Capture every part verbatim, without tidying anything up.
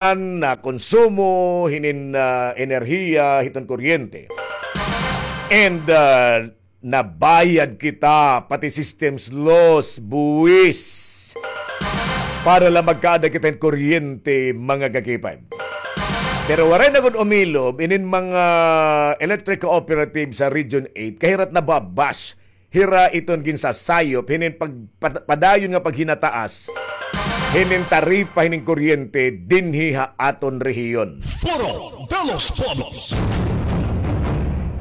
nakonsumo hinin, ah, enerhiya hiton kuryente. And, ah, nabayad kita, pati systems loss, buwis, para la magkaada kita hin kuryente, mga ka-K five. Pero waray na gud umilob inin mga electric cooperative sa Region eight, kay hira it nababash, hira iton ginsasayop hinin pag-, pad-, padayon nga paghinataas hinin taripa hinin kuryente dinhi ha aton rehiyon. Foro de los Pueblos.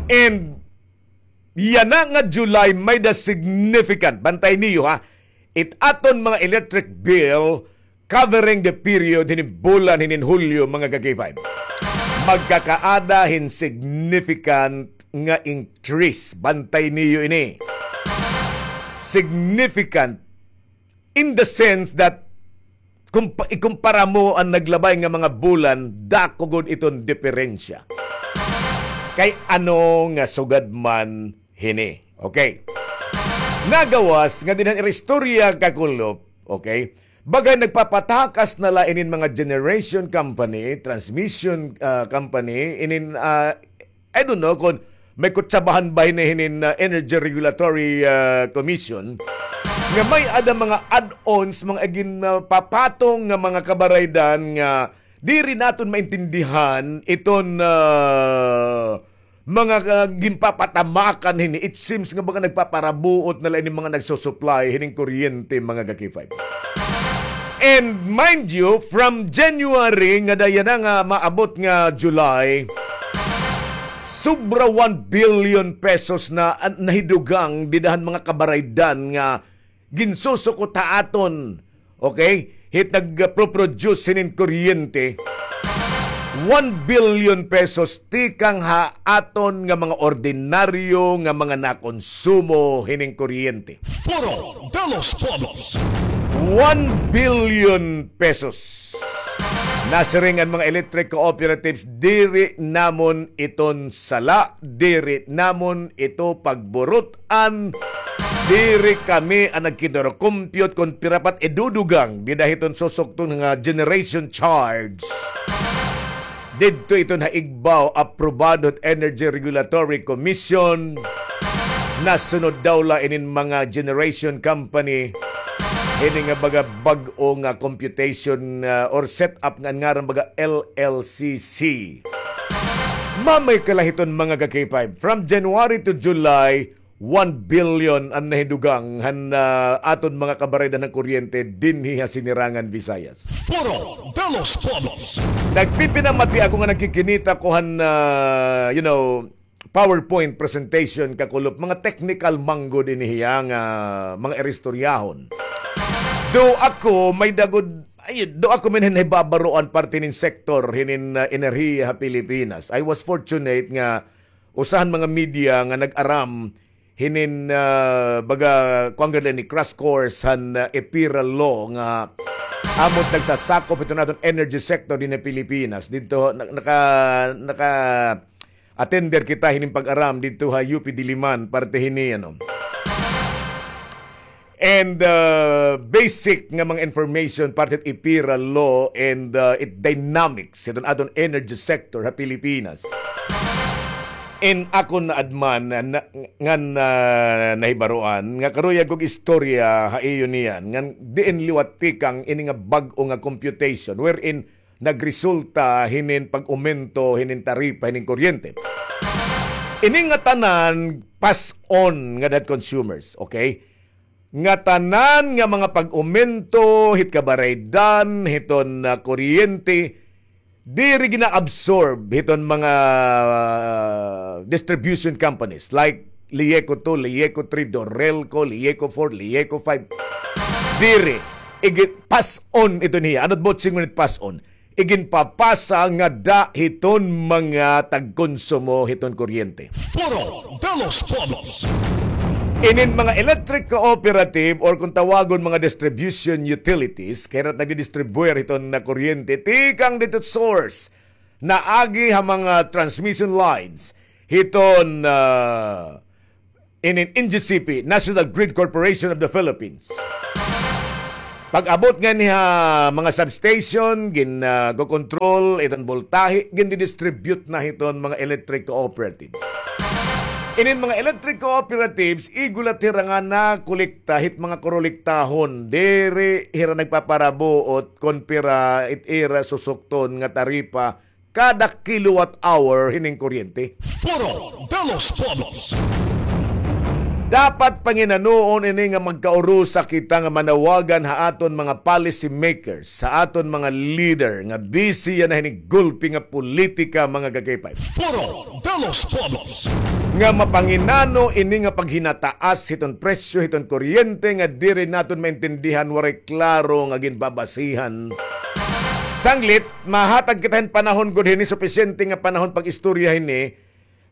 And yana nga July, may-da significant, bantay niyo ha, it aton mga electric bill covering the period hinin bulan hinin Hulyo, mga ka-K five. Magkakaada hin significant nga increase. Bantay niyo ini. Significant in the sense that kung pa-, ikumpara mo an naglabay nga mga bulan, dako gud iton diperensya. Kay ano nga sugad man hini. Okay. Nagawas nga dinhi han istorya, kakulop, okay, baga nagpapatakas na la inin mga generation company, transmission, ah, company, inin, ah, I don't know kon may kutsabahan ba hini hinin, ah, Energy Regulatory, ah, Commission nga may-ada mga add-ons, mga ginpapatong nga mga kabaraydan nga diri naton maintindihan iton, ah, mga, ah, ginpapatamakan hini. It seems nga baga nagpaparabuot na la ini mga nagsusupply hining kuryente, mga ka-K five. And mind you, from January ngada yana nga maabot nga July, sobra one billion pesos na an nahidugang dida han mga kabaraydan nga ginsusukot ha aton, okay? Hit nagproproduce hinin kuryente, one billion pesos tikang ha aton nga mga ordinaryo nga mga nakonsumo hining kuryente. Foro de los Pueblos. One billion pesos. Nasiring an mga electric cooperatives, diri namon iton sala, diri namon ito pagburut-an, diri kami an nagkinurukumpyot kon pira pa it idudugang dida hiton susukton nga generation charge. Didto iton ha igbaw, aprobado hit Energy Regulatory Commission. Nasunod daw la inin mga generation company hini nga baga bag-o nga computation, ah, or setup nga an ngaran baga L L C C. Mamay ka la hiton, mga ka-K five. From January to July, one billion an nahidugang han, ah, aton mga kabaraydan han kuryente dinhi ha Sinirangan Visayas. Foro de los Pueblos. Nagpipinamati ako nga nagkikinita ko han, ah, you know, PowerPoint presentation, kakulop, mga technical man gud ini hiya nga mga iristoryahon. Do ako may-da gud, ay, do ako may nahibabaroan parte hinin sektor hinin, ah, enerhiya ha Pilipinas. I was fortunate nga usa han mga media nga nag-aram hinin, ah, baga, kuan gud la ini, crash course han, ah, EPIRA law nga amo it nagsasakop hiton aton energy sector dinhi ha Pilipinas. Didto, na-, naka-, naka-attender kita hinin pag-aram didto ha U P Diliman, parte hini, ano. And, uh, basic nga mga information parte hit EPIRA law and, uh, it dynamics hiton aton energy sector ha Pilipinas. In akon naadman na, na, ngan, uh, nahibaroan nga karuyag kog istorya ha iyo niyan ngan diin liwat tikang ini nga bag-o nga computation wherein nagresulta hinin pag-umento hinin taripa hinin kuryente. Ini nga tanan pass on ngada hit consumers, okay? Nga tanan nga mga pag-umento hit kabaraydan hiton, ah, kuryente, diri gina-absorb hiton mga, ah, distribution companies like Lieco two, Lieco three, Dorelco, Lieco four, Lieco five. Diri. Igi-, pass on iton hiya. Ano it buot siring hit pass on? Iginpapasa ngada hiton mga tagkonsumo hiton kuryente. Foro de los Pueblos. Inin mga electric cooperative or kon tawagon mga distribution utilities, kay hira it nagdidistribuir hiton nga kuryente tikang didto source, naagi ha mga transmission lines hiton, ah, inin N G C P, National Grid Corporation of the Philippines. Pag-abot ngani ha mga substation, gin, ah, go control iton boltahe, gindidistribute na hiton mga electric cooperatives. Inin mga electric cooperatives, igula hira nga nakolekta hit mga korektahon. Diri hira nagpaparabuot kon pira it ira susukton nga taripa kada kilowatt hour hining kuryente. Foro de los Pueblos. Dapat panginanoon ini nga magkaurusa kita nga manawagan ha aton mga policy makers, ha aton mga leader nga busy yana hinig gulpi nga politika, mga kakipay. Foro de los Pueblos. Nga mapanginano ini nga paghinataas hiton presyo hiton kuryente nga diri naton maintindihan, waray klaro nga ginbabasihan. Sanglit, mahatag kita hin panahon gud hini, supisyente nga panahon pag-istorya hini,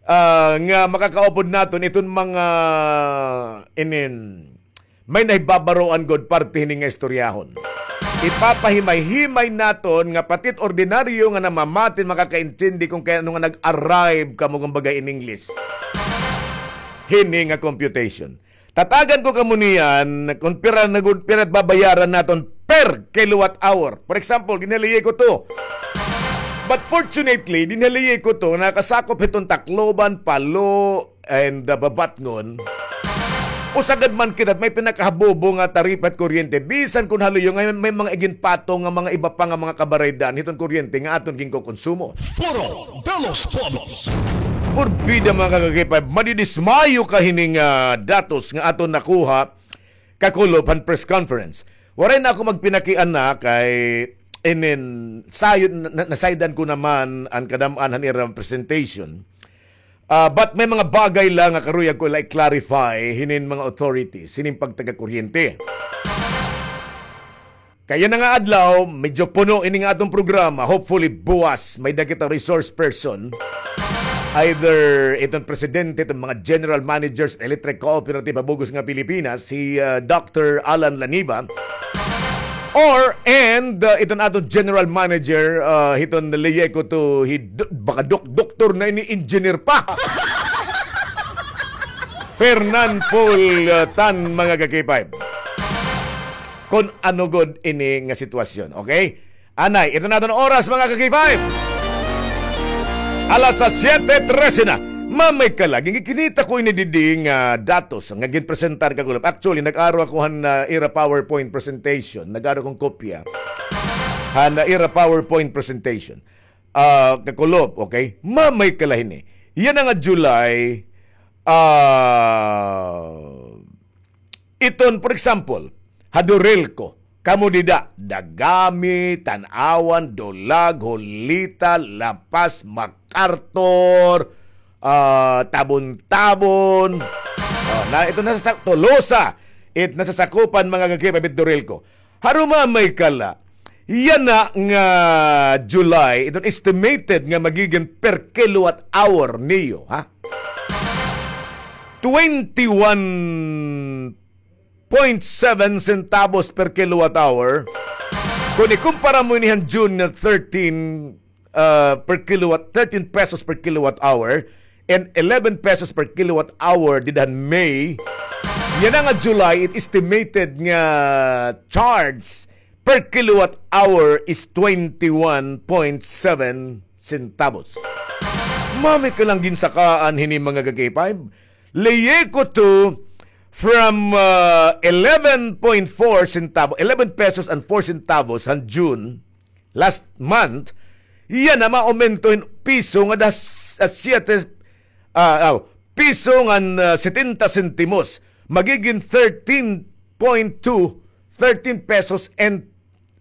ah, nga makakaupod naton iton mga inin may nahibabaroan gud parte hini nga istoryahon. Ipapahimay-himay naton nga pati it ordinaryo nga namamati makakaintindi kon kay ano nga nag-arrive kamo, kumbaga, in English, hini nga computation. Tatagan ko kamo niyan kon pira na gud, pira it babayaran naton per kilowatt hour. For example, dinhi ha Leyeco two. But fortunately, dinhi ha Leyeco two, nakasakop hiton Tacloban, Palo, and, uh, Babatngon. Usa gad man kita, may pinakahabobo nga taripa it kuryente. Bisan kon ha luyo nga may mga iginpatong nga mga iba pa nga mga kabaraydan hiton kuryente nga aton ginkokonsumo. Foro de los Pueblos. Porbida, mga kakipay, madidismayo ka hining, ah, datos nga aton nakuha kakulop han press conference. Waray na ako magpinakiana kay inin sayod, na, na, nasaydan ko naman an kadam-an han ira presentation. Ah, but may mga bagay la nga karuyag ko la i-clarify hinin mga authorities, hinin pagtaga-kuryente. Kay yana nga adlaw, medyo puno ini nga aton programa. Hopefully, buwas, may-ada kita resource person. Either iton presidente, iton mga general managers, electric cooperative ha bug-os nga Pilipinas, si, ah, Doctor Alan Laniba, or, and, ah, iton aton general manager, ah, hiton Leyeco two, hi do-, baka dok-, doktor na ini, engineer pa. Fernan Paul, ah, Tan, mga ka-K five. Kon ano gud ini nga sitwasyon, okay? Anay, ito na aton oras, mga ka-K five. Alas siyete trese na. Mamay ka la, ginkinita ko ini didi nga datos nga ginpresentar kakulop. Actually, nag-aro ako han, ah, ira PowerPoint presentation. Nag-aro akon kopya han, ah, ira PowerPoint presentation. Ah, kakulop, okay? Mamay ka la hini. Yana nga July, ah, iton, for example, ha Dorelco, kamo dida, Dagami, Tanauan, Dolag, Julita, La Paz, MacArthur, ah, Tabon-Tabon, ah, na, ito nasa sa-, Tolosa, it nasasakupan, mga ka-K five, it Dorelco. Harumamay ka la, yana nga July, iton estimated nga magigin per kilowatt hour niyo, ha? Twenty-one point seven centavos per kilowatt hour. Kon ikumpara mo ini han June nga thirteen, ah, per kilowatt, thirteen pesos per kilowatt hour and eleven pesos per kilowatt hour dida han May, yana nga July, it estimated nga charge per kilowatt hour is twenty-one point seven centavos. Mamay ka lang ginsakaan hini, mga ka-K five. Leyeco two from, ah, eleven point four centavo, eleven pesos and four centavos han June last month, yana maaumento hin piso ngada s-, ah, siyete, ah, aw, piso ngan, ah, setenta sentimos. Magigin thirteen point two, thirteen pesos and,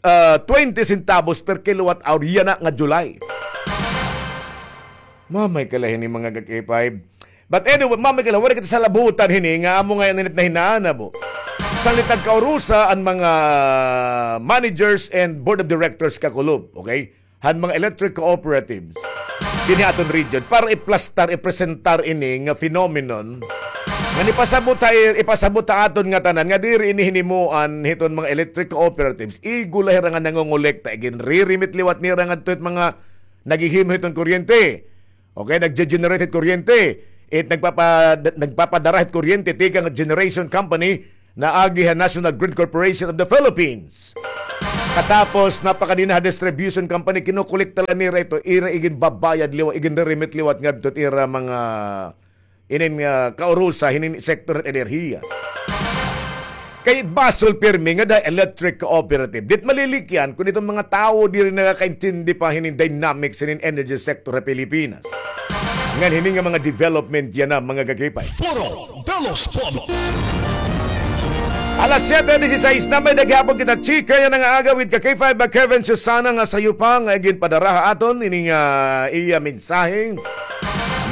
ah, twenty centavos per kilowatt hour yana nga July. Mamay ka la hini, mga ka-K five. But anyway, mamay ka la, waray kita salabutan hini nga amo ngay-an ini it nahinanabo. Sanglit nagkaurusa an mga managers and board of directors kakulop, okay? Han mga electric cooperatives dinhi ha aton region para iplastar, ipresentar ini nga phenomenon nga ipasabot ha, ipasabot ha aton ngatanan nga diri ini hinimuan hiton mga electric cooperatives. Igo la hira nga nangongolekta, iginre-remit liwat nira ngadto hit mga naghihimo hiton kuryente. Okay, nagge-generate hit kuryente. It nagpapa-, nagpapadara hit kuryente tikang generation company naagi ha National Grid Corporation of the Philippines. Katapos, napakadi na ha distribution company, kinukolekta la nira ito, ira iginbabayad liwat, iginre-remit liwat ngadto it ira mga inin nga kaurusa hinin sektor han enerhiya. Kay basol pirmi nga da electric cooperative. Dit malilikyan kun iton mga tawo diri nakakaintindi pa hinin dynamics hinin energy sector ha Pilipinas. Ngan hini nga mga development yana, mga ka-K five. Foro de los Pueblos. Alas siyete dieciséis na, may naghihapon kita chika yana nga aga with ka-K five, Kevin Susana nga sayo pa nga ginpadara ha aton ini nga iya mensahe.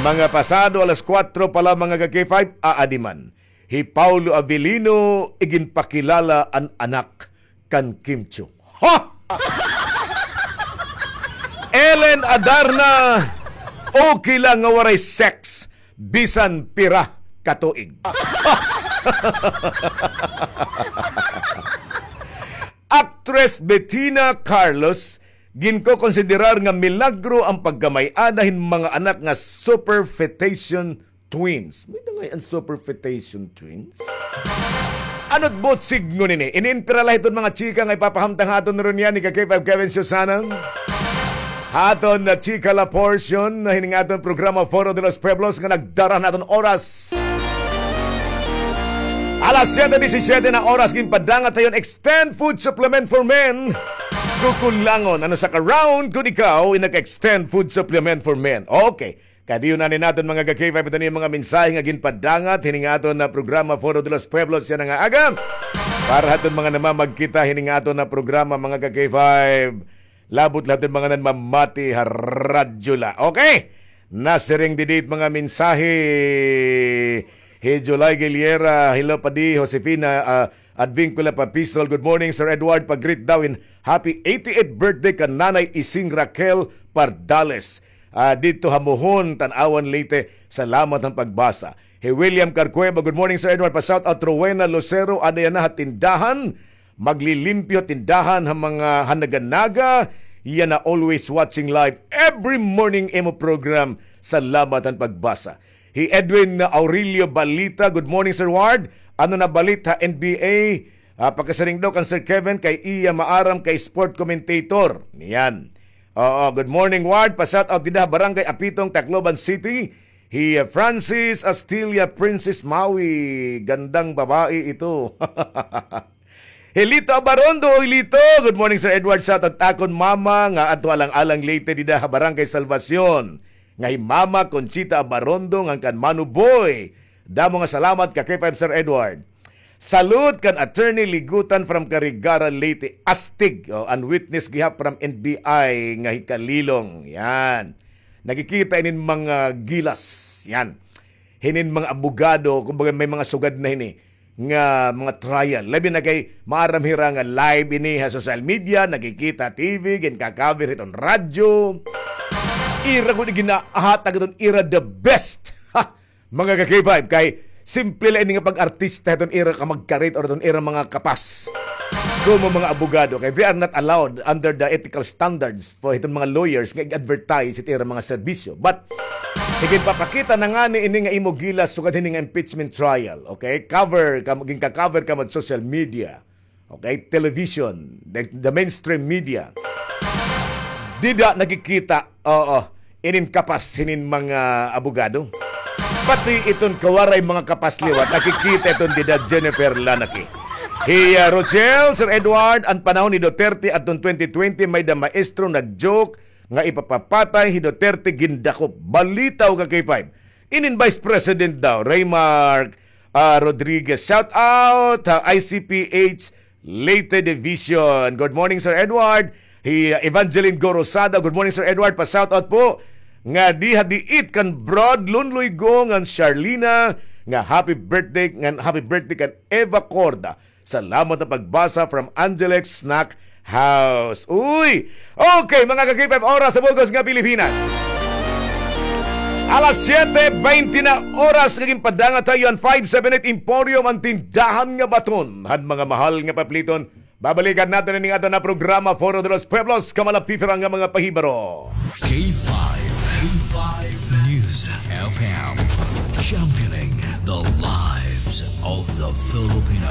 Mga pasado alas kuwatro pa la, mga ka-K five, aadi man. Hi Paulo Avellino iginpakilala an anak kan Kim Chiu. Ha? Ellen Adarna, okay lang nga waray sex bisan pira ka tuig. Actress Bettina Carlos, ginkokonsiderar nga milagro an pagkamay-ada hin mga anak nga superfetation twins. May na ngay-an superfetation twins? Ano't buot sidngon ini? Inin pira la hiton mga chika nga ipapahamtang ha aton runya ni ka-K five Kevin Susana. Ha aton na chika la portion na hinin nga aton programa Foro de los Pueblos nga nagdara han aton oras. Alas siyete diecisiete na oras, ginpadangat ha iyo an Extend Food Supplement for Men. Kukulangon, ano sa ka-round kun ikaw in nag-Extend Food Supplement for Men. Okay. Kadiyon na ni naton mga ka-K five, ito ni mga mensahe nga ginpadangat hini nga aton na programa Foro de los Pueblos yana nga aga. Para ha aton mga namamagkita hini nga aton na programa, mga ka-K five. Labot la hiton mga nanmamati ha radyo la. Okay. Nasiring didi it mga mensahe. Hi July Guilera, hello padi, Josefina, ah, Advincula Papisol. Good morning, Sir Edward. Pag-greet daw in happy eighty-eighth birthday kan Nanay Ising Raquel Pardales. Ah, didto ha Mohon, Tanauan, Leyte. Salamat han pagbasa. Hi William Carcueva, good morning, Sir Edward. Pa-shout out Rowena Lucero, ada yana ha tindahan. Maglilimpyo tindahan ha mga hanaga-naga. Yana always watching live every morning imo program. Salamat han pagbasa. Hi Edwin Aurelio Balita, good morning, Sir Ward. Ano na balit ha N B A? Ah, pakasiring daw kan Sir Kevin kay iya maaram kay sport commentator. Yan. Oo, good morning, Ward. Pa-shout out dida ha Barangay Apitong, Tacloban City. Hi, uh, Francis Astilla, Princess Maui. Gandang babae ito. Hi Lito Abarondo, Lito. Good morning, Sir Edward. Shout out akon mama nga adto alang-alang Leyte dida ha Barangay Salvacion. Nga hi Mama Conchita Abarondo ngan kan Mano Boy. Damo nga salamat ka K five, Sir Edward. Salud kan Attorney Ligutan from Carigara, Leyte. Astig, oh, an witness gihap from N B I nga hi Kalilong. Yan. Nakikita inin mga gilas. Yan. Hinin mga abogado, kumbaga may mga sugad na hini nga mga trial. Labi na kay maaram hira nga live ini ha social media, nakikita T V, ginka-cover hiton radyo. Ira gud ginahatag hiton ira the best. Ha! Mga ka-K five, kay simple la ini nga pag-artista hiton ira ka magkarit or hiton ira mga kapas. Komo mga abogado, kay they are not allowed under the ethical standards for hiton mga lawyers nga i-advertise hit ira mga serbisyo. But, iginpapakita na ngani ini nga imo gilas sugad hini nga impeachment trial, okay? Cover, kam-, ginka-cover kamo hit social media. Okay, television, the, the mainstream media. Dida nakikita, oo, inin kapas hinin mga abogado. Pati iton kawaray mga kapas liwat, nakikita iton dida Jennifer Lanaki. Hi, ah, Rochelle, Sir Edward, an panahon ni Duterte adton twenty twenty, may-da maestro nag-joke nga ipapapatay hi Duterte, gindakop. Balitaw ka K five. Inin Vice President daw, Raymark, ah, Rodriguez. Shout out ha I C P H Leyte Division. Good morning, Sir Edward. Hi, uh, Evangeline Gorosada. Good morning, Sir Edward. Pa-shout out po nga diha diit kan Brad Lunloy Go ngan Charlina nga happy birthday, ngan happy birthday kan Eva Corda. Salamat ha pagbasa from Angelic Snack House. Uy! Okay, mga ka-K five, oras sa bug-os nga Pilipinas. Alas siyete bente na oras nga ginpadangat ha iyo an five seven eight Emporium, an tindahan nga baton han mga mahal nga papliton. Babalikan naton ini nga aton na programa, Foro de los Pueblos, kamalapipira nga mga pahibaro. K five. Five News F M, championing the lives of the Filipino.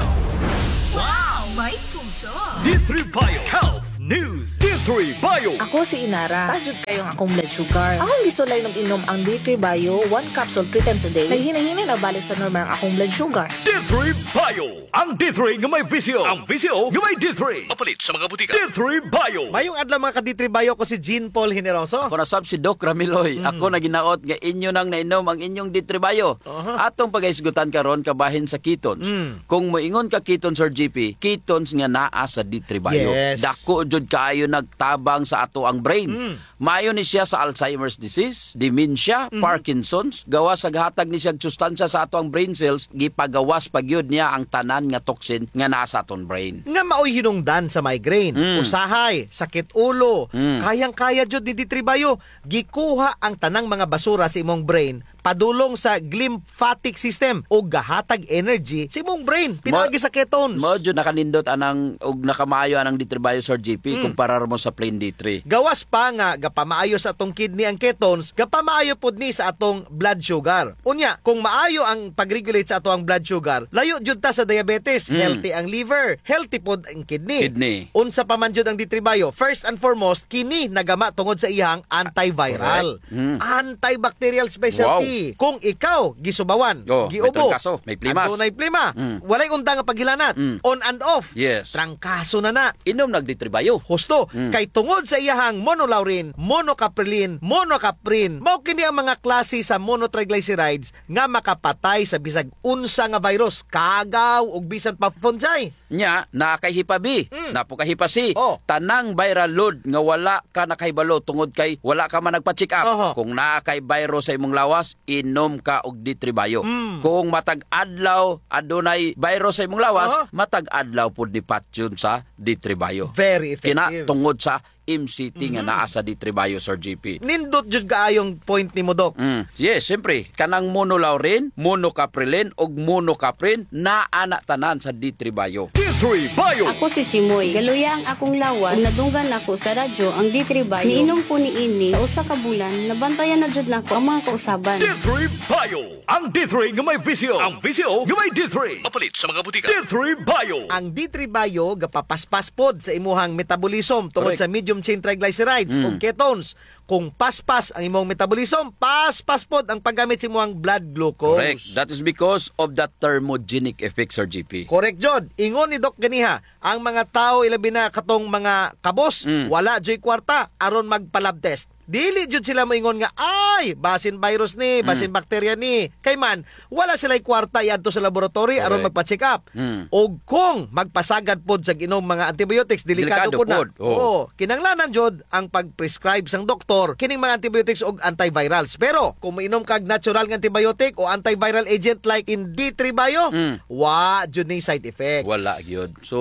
Wow! May puso! D three Bio Health News. D three Bio. Ako si Inara. Taas jud kaayo ang akong blood sugar. Akong gisulay nag-inom ang D three Bio, one capsule three times a day. Naghinay-hinay na balik sa normal ang akong blood sugar. D three Bio. Ang D three nga may visyo. Ang visyo nga may D three. Mapalit sa mga butika. D three Bio. Mayong adlaw, mga ka-D three Bio, ko si Jean Paul Generoso. Ako na sab si Doc Ramiloy. Mm. Ako na ginaot nga inyo nang nainom ang inyong D three Bio. Aha. Atong pagahisgutan karon kabahin sa ketones. Mm. Kung moingon ka ketones, Sir G P, ketones nga naa sa D three Bio. Yes. Dako jud kaayo nagtabang sa ato ang brain. Mm. Maayo ni siya sa Alzheimer's disease, dementia, Mhm. Parkinson's, gawas sa gahatag ni siya sustansya sa ato ang brain cells, gipagawas pa gyud niya ang tanan nga toxin nga naa sa aton brain. Nga maoy hinungdan sa migraine, Mm. usahay, sakit ulo, Mm. kayang-kaya jud ni D three Bio, gikuha ang tanang mga basura sa imong brain, padulong sa glymphatic system ug gahatag energy sa imong brain pinaagi sa ketones. Mao jud nakanindot anang ug nakamaayo anang D three Bio, Sir G P, Mm. kumparar mo sa plain D three. Gawas pa nga gapamaayo sa atong kidney ang ketones, gapamaayo pod ni sa atong blood sugar. Unya, kung maayo ang pag-regulate sa ato ang blood sugar, layo jud ta sa diabetes, Mm. healthy ang liver, healthy pod ang kidney. Kidney. Unsa pa man jud ang D three Bio? First and foremost, kini nagama tungod sa iyang antiviral. Correct. Mm. Antibacterial specialty. Wow. Kung ikaw gisubawan, Oh, may giubo, trangkaso, may plimas. Adunay plima, Mm. walay undang nga paghilanat, Mm. on and off. Yes. Trangkaso na na. Inom nag D three Bio. Husto, Mm. kay tungod sa iyahang monolaurin, monocaprilin, monocaprin, mao kini ang mga klase sa monotriglycerides nga makapatay sa bisag unsa nga virus, kagaw ug bisan pa fungi. Nya, naa kay Hepa B, Mm. naa pod kay Hepa C. Oh. Tanang viral load nga wala ka nakahibalo tungod kay wala ka man nagpa-check up. Oho. Kung naa kay virus sa imong lawas, inom ka og D three Bio. Mm. Kung matag adlaw adunay virus sa imong lawas, Oho. matag adlaw pud ni patyon sa D three Bio. Very effective. Kina tungod sa M C T nga Mhm. naa sa D three Bio, Sir G P. Nindot jud kaayong point nimo, Doc. Mm. Yes, siyempre, kanang monolaurin, monocaprilin, ug monocaprin, naa na tanan sa D three Bio. D three Bio. Ako si Chimoy. Galuya ang akong lawas ug nadunggan nako sa radyo ang D three Bio. Niinom ko niini sa usa ka bulan, nabantayan na jud nako ang mga kausaban. D three Bio. Ang D three nga may visyo. Ang visyo nga may D three. Mapalit sa mga butika. D three Bio. Ang D three Bio gapapaspas pod sa imuhang metabolism tungod Correct. sa medium chain triglycerides Mm. o ketones. Kung paspas ang imong metabolism, paspas pod ang paggamit sa imuhang blood glucose. Correct. That is because of the thermogenic effect, Sir G P. Correct jud. Ingon ni Doc ganiha, ang mga tawo, ilabi na katong mga kabos, Mm. wala juy kwarta aron magpa-lab test. Dili jud sila moingon nga, "Ay, basin virus ni, basin Mm. bakterya ni." Kay man, wala sila'y kwarta iadto sa laboratory aron Correct. magpa-check up. Mm. Ug kung magpasagad pod sa ginom mga antibiotics, delikado Delikado pod na. pod, oo. Oo, kinahanglanan jud ang pag-prescribe sang doktor kining mga antibiotics ug antivirals. Pero kung moinom kag natural nga antibiotic o antiviral agent like in D three Bio, Mm. wa jud ni side effects. Wala gyud. So,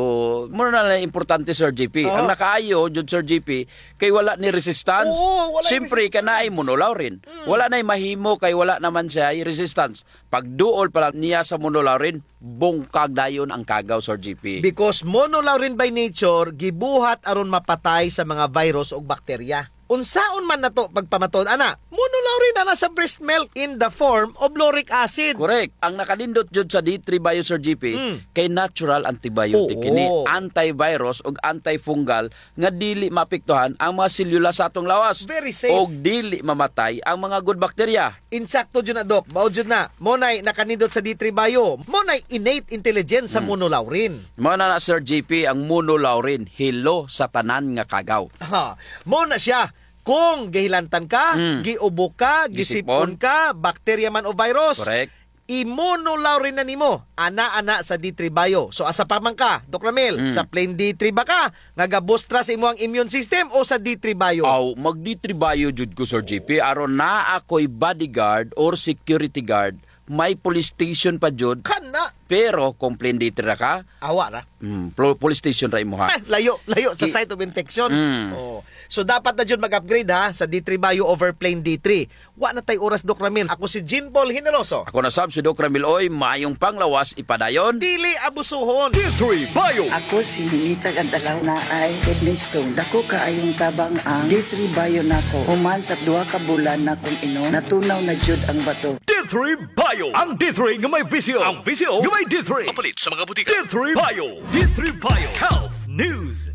mura na lang importante, Sir G P. Oo. Ang nakaayo jud, Sir G P, kay wala ni resistance. Oo, wala ni Siyempre, resistance. Kanaay monolaurin. Mm. Wala na'y mahimo kay wala naman siya resistance. Pagduol pa lang niya sa monolaurin, bungkag dayon ang kagaw, Sir G P. Because monolaurin by nature, gibuhat aron mapatay sa mga virus ug bakterya. Unsaon man nato pagpamatud ana? Monolaurin ana sa breast milk in the form of lauric acid. Correct. Ang nakanindot jud sa D three Bio, Sir G P, Mm. kay natural antibiotic Oo. kini, antivirus ug antifungal nga dili maapektuhan ang mga selula sa atong lawas. Very safe. Ug dili mamatay ang mga good bacteria. Insakto jud na, Doc. Mao jud na. Mao na'y nakanindot sa D three Bio. Mao na'y innate intelligence sa Hmm. monolaurin. Mao na na, Sir G P, ang monolaurin, hilo sa tanan nga kagaw. Ha, mao na siya. Kung gihilantan ka, Hmm. giubo ka, gisip-on Gisip-on. ka, bakterya man o virus, Correct. i-monolaurin na nimo. Ana, ana sa D three Bio. So, asa pa man ka, Doc Ramil? Hmm. Sa plain D three ba ka? Nga gabustra sa imo ang immune system o sa D three Bio? Aw, mag D three Bio jud ko, Sir G P. Aron naa ako'y bodyguard or security guard, may police station pa jud. Kana. Pero kung plain D three ra ka, Awa ra. Hmm, plo-, police station ra imo, ha? Ay, layo, layo sa Ki- site of infection. Mm. Oh. So, dapat na jud mag-upgrade, ha, sa D three Bio over plain D three. Wa na tay oras, Doc Ramil. Ako si Jean Paul Generoso. Ako na sab si Doc Ramil Oy, maayong panglawas ipadayon. Dili abusuhon. D three Bio. Ako si Ninita Gandalaw, naay kidney stone. Dako kaayong tabang ang D three Bio nako. Human sa duha ka bulan nakong inom, natunaw na jud ang bato. D three Bio. Ang D three nga may V C O. Ang V C O nga may D three. Mapalit sa mga butika. D three Bio. D three Bio. Health News.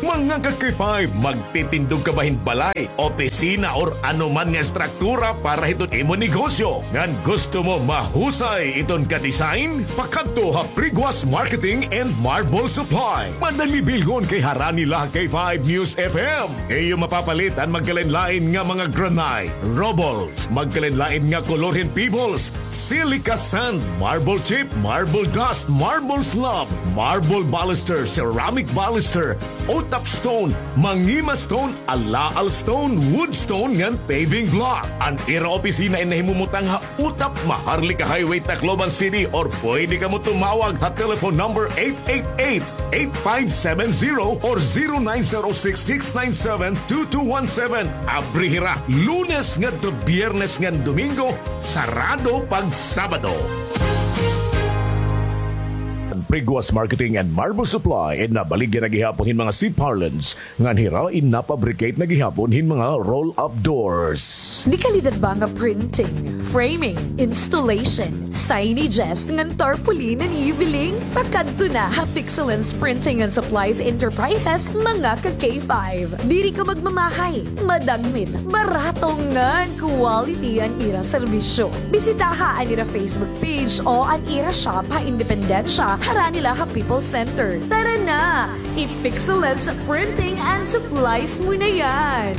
Mga ka-K five, magtitindog ka ba hin balay, opisina, or ano man nga estruktura para hiton imo negosyo? Ngan gusto mo mahusay iton ka-design? Pakadto ha Priguas Marketing and Marble Supply. Madali bilhon kay harani la ha K five News F M. Iyo mapapalit an magkalain-lain nga mga granite, rubbles, magkalain-lain nga kolor hin pebbles, silica sand, marble chip, marble dust, marble slab, marble baluster, ceramic baluster, utap stone, mangima stone, alaal stone, wood stone, ngan paving block. An ira opisina in nahimumutang ha Utap, Maharlika Highway, Tacloban City, or pwede kamo tumawag ha telephone number eight eight eight, eight five seven zero or zero nine zero six, six nine seven, two two one seven. Abri hira Lunes ngadto Biyernes ngan Domingo, sarado pag Sabado. An Priguas Marketing and Marble Supply in nabaligya na gihapon hin mga C-parlance ngan hira in napabricate na gihapon hin mga roll-up doors. Dekalidad ba nga printing, framing, installation, signages, ngan tarpaulin an iyo biling? Pakadto na ha Pixelance Printing and Supplies Enterprises, mga ka-K five. Diri ka magmamahay, madagmit, barato ngan quality an ira serbisyo. Bisitaha an ira Facebook page o an ira shop ha Independencia, harani la ha People's Center. Tara na! I-Pixelance Printing and Supplies mo na yan!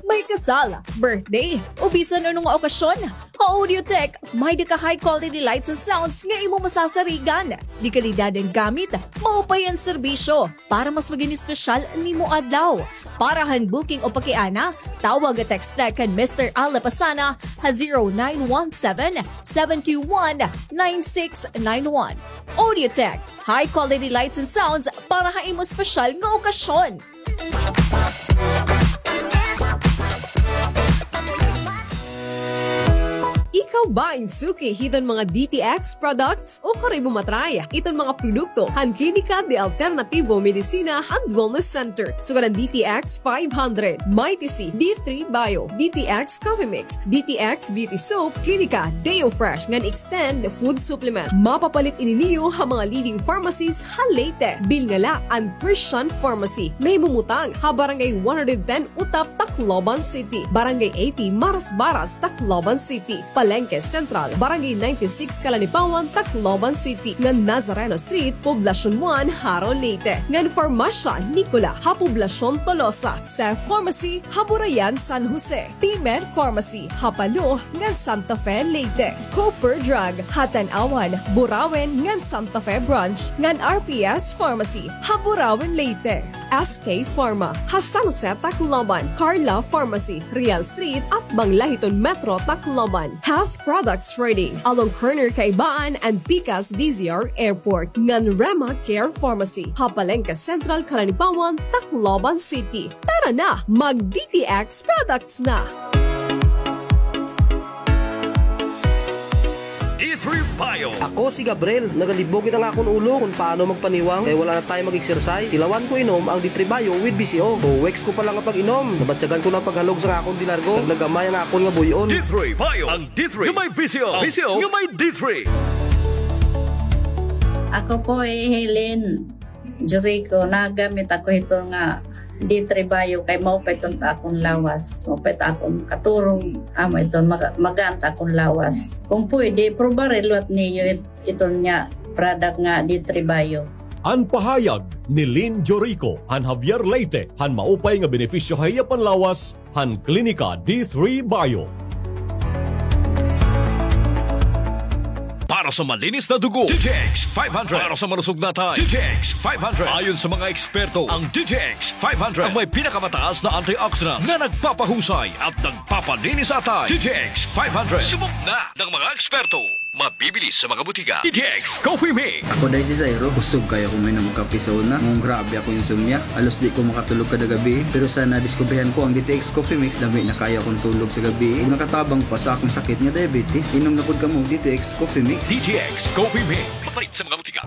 May kasal, birthday, o bisan ano nga okasyon, ha Audiotech, may-ada ka high quality lights and sounds nga imo masasarigan. Dekalidad an gamit, maupay an serbisyo. Para mas maging espesyal an imo adlaw. Para han booking o pakiana, tawag o text na kan Mister Al Lapasana ha zero nine one seven, seven two one, nine six nine one. Audiotech, high quality lights and sounds para ha imo espesyal nga okasyon. Ikaw ba in suki hiton mga D T X products? O kari mo matry iton mga produkto han Klinika de Alternativo Medicina and Wellness Center. Sugad an D T X five hundred, Mighty C, D three Bio, D T X Coffee Mix, D T X Beauty Soap, Klinika Deo Fresh ngan Extend Food Supplement. Mapapalit ini niyo ha mga leading pharmacies ha Leyte. Bilnga la an Christian Pharmacy, nahimumutang ha Barangay one hundred ten Utap, Tacloban City, Barangay eighty Marasbaras, Tacloban City, Palengke Central, Barangay ninety-six Calanipawan, Tacloban City, ngan Nazareno Street, Poblacion one, Jaro, Leyte, ngan Farmasya Nicola ha Poblacion Tolosa, Seth Pharmacy ha Burayan, San Jose, Pimer Pharmacy ha Palo ngan Santa Fe, Leyte, Cooper Drug ha Tanauan, Burauen ngan Santa Fe Branch, ngan R P S Pharmacy ha Burauen, Leyte. S K Pharma ha San Jose, Tacloban, Carla Pharmacy, Real Street, atbang la hiton Metro Tacloban, Health Products Trading along corner Kaibaan and pikas D Z R Airport, ngan Rema Care Pharmacy ha Palengke Central, Calanipawan, Tacloban City. Tara na, mag D T X products na! D three Bio. Ako si Gabriel. Nagalibog it an akon ulo kon paano magpaniwang kay wala na tayo mag-exercise. Tilawan ko inom ang D three Bio with B C O. Two weeks ko pa lang nga pag-inom, nabatyagan ko na an paghalog sa akon delargo. Nagnagamay ang akon nga buy-on. D three Bio. Ang D three nga may V C O. V C O nga may D three. Ako po hi Helen Jericho, nagamit ako hito nga D three Bio kay maupay iton ta akon lawas. Maupay ta akon katurog, amo iton maga-, magaan ta akon lawas. Kung pwede, prubaha liwat niyo it-, iton nga product nga D three Bio. An pahayag ni Lynn Jorico han Javier, Leyte, han maupay nga benepisyo ha iya panlawas han Klinika D three Bio. Para sa malinis na dugo, D T X five hundred. Para sa malusog na atay, D T X five hundred. Ayon sa mga eksperto, ang D T X five hundred ang may pinakamataas na antioxidant na nagpapahusay at nagpapalinis sa atay. D T X five hundred. Subok na ng mga eksperto. Mabibili sa mga botika. D T X Coffee Mix. Ako, Day, si Zairo. Kusog kaayo ako mainom og kape sa una. Nganong grabe akong insomnia. Halos di ko makatulog kada gabii. Pero sa nadiskubrihan ko ang D T X Coffee Mix, lami na kaayo akong tulog sa gabii. Ug nakatabang pa sa akong sakit nga diabetes. Inom na pod kamo og D T X Coffee Mix. D T X Coffee Mix. Mapalit sa mga botika.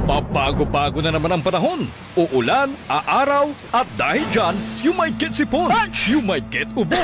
Pabago-bago na naman ang panahon. Uulan, aaraw, at dahil dyan, you might get sipon, you might get ubo,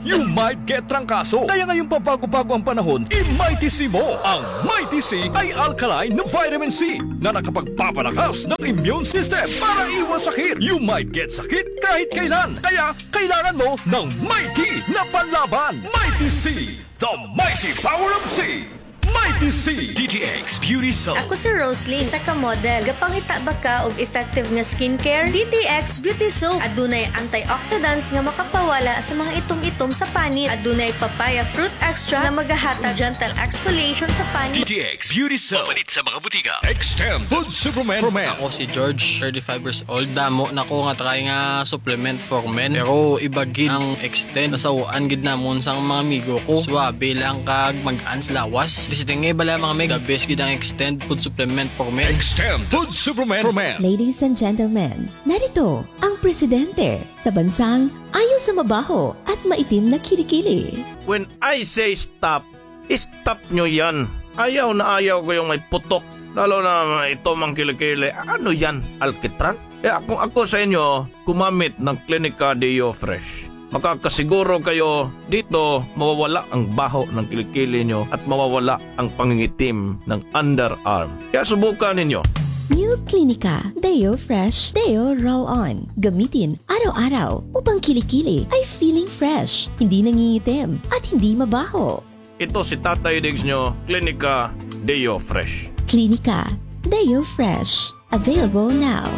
you might get trangkaso. Kaya ngayong pabago-bago ang panahon, i-Mighty C mo. Ang Mighty C ay alkaline na vitamin C na nakapagpapalakas ng immune system para iwas sakit. You might get sakit kahit kailan. Kaya kailangan mo ng Mighty na panlaban. Mighty C, the mighty power of C. Mighty C. D T X Beauty Soap. Ako si Rosalie, isa ka model. Gapangita ba ka og effective nga skincare? D T X Beauty Soap. Adunay antioxidants nga makapawala sa mga itom-itom sa panit. Adunay papaya fruit extract nga magahatag gentle exfoliation sa panit. D T X Beauty Soap. Mapalit sa mga botika. Extend Food Supplement for Men. Ako si George, thirty-five years old. Damo na ko nga try nga supplement for men. Pero iba gid ang Extend. Nasaw-an gid namon sang mga amigo ko. Suabe lang kag mag-ans lawas. Basta nga bala, mga mig, the best gid ang Extend food supplement for men. Extend food supplement for men. Ladies and gentlemen, narito ang presidente sa bansang ayaw sa mabaho at maitim na kilikili. When I say stop, stop nyo yan. Ayaw na ayaw ko yung may putok. Lalo na may itom ang kilikili. Ano yan? Alkitran? Kaya kung ako sa inyo, gumamit ng Clinica Deo Fresh. Makakasiguro kayo dito mawawala ang baho ng kilikili nyo at mawawala ang pangingitim ng underarm. Kaya subukan ninyo. New Clinica Deo Fresh Deo Roll-On. Gamitin araw-araw upang kilikili ay feeling fresh, hindi nangingitim, at hindi mabaho. Ito si Tatay Diggs nyo, Clinica Deo Fresh. Clinica Deo Fresh. Available now.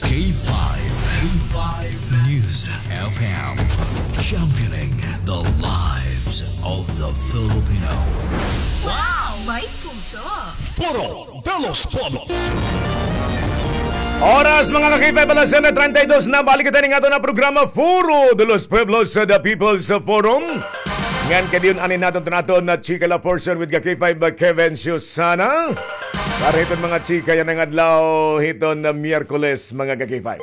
K five, K five News F M, championing the lives of the Filipino. Wow! May puso! Foro de los Pueblos. Oras, mga ka-K five, alas siyete treinta y dos na. Balik kita ning aton nga programa, Foro de los Pueblos, sa The People's Forum. Ngan kay diyon ani naton to naton na chika la portion with ka-K five, Kevin Susana. Para hiton mga chika yana nga adlaw, hiton na Miyerkules, mga ka-K five.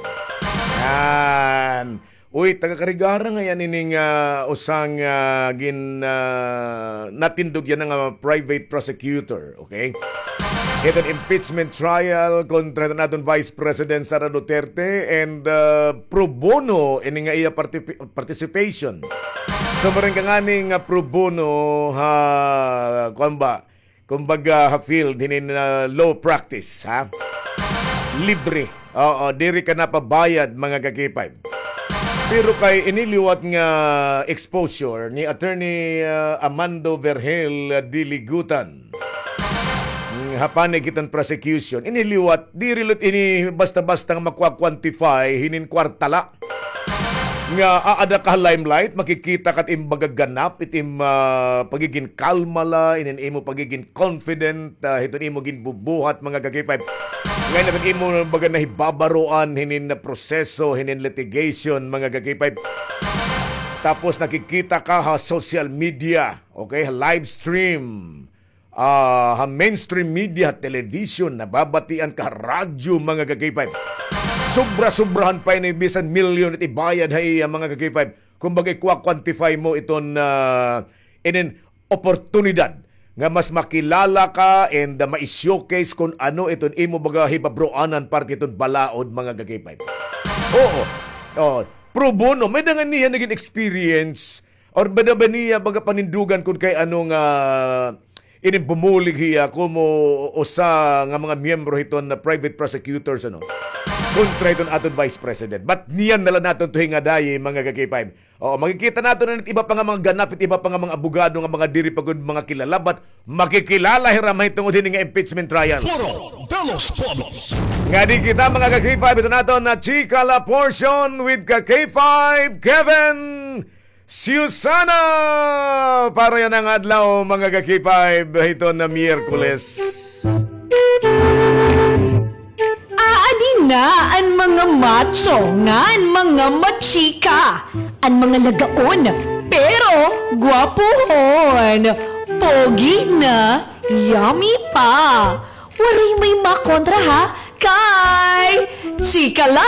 Yan. Uy, taga-Carigara ngay-an ini nga, ah, usa nga, ah, gin, ah, natindog yana nga private prosecutor, okay? Hiton impeachment trial kontra hiton aton Vice President Sara Duterte and, ah, pro bono ini nga iya parti-, participation. So, maring ka ngani nga pro bono ha, kuwan ba, kumbaga, ha field hinin, ah, law practice, ha? Libre. Oo, diri ka napabayad, mga ka-K five. Pero kay ini liwat nga exposure ni Attorney, ah, Amando Vergel, ah, Diligutan, mm, ha panig hiton prosecution, ini liwat, diri la ini basta-basta nga makwa-quantify hinin kwarta la. Nga aada ka ha limelight, makikita ka it im baga ganap, it im, ah, pagigin kalma la, inin imo pagigin confident, ah, hiton imo ginbubuhat, mga ka-K five. Ngay-an hiton imo baga nahibabaroan hinin na proseso, hinin litigation, mga ka-K five. Tapos nakikita ka ha social media, okay, ha live stream. Ah, ha mainstream media, television, nababatian ka, radyo, mga ka-K five. Sobra-sobrahan pa ini, bisan milyon it ibayad ha iya, mga ka-K five. Kumbaga, ikwa-quantify mo iton, ah, inin oportunidad nga mas makilala ka and, ah, ma-showcase kon ano iton imo baga hibabroanan parte iton balaod, mga ka-K five. Oo. Oh, pro bono. May-ada ngani niya nagin experience or may-ada ba niya baga panindugan kon kay ano nga inin bumulig hiya komo usa nga mga miyembro hiton na private prosecutors, ano, kontra hiton aton Vice President. But niyan na la naton to hingadayi, mga ka-K five. Oo, makikita naton na it iba pa nga mga ganap, it iba pa nga mga abogado nga mga diri pa gud mga kilala, but makikilala hira mahitungod hini nga impeachment trial. Foro de los Pueblos. Ngadi kita, mga ka-K five, ito naton na Chika La Portion with ka-K five, Kevin Susana! Para yana nga adlaw, mga ka-K five, hiton na Miyerkules. Aadi na an mga macho ngan mga machika, an mga lagaon, pero gwapuhon. Pogi na, yummy pa. Waray may makontra ha, kay Chika La!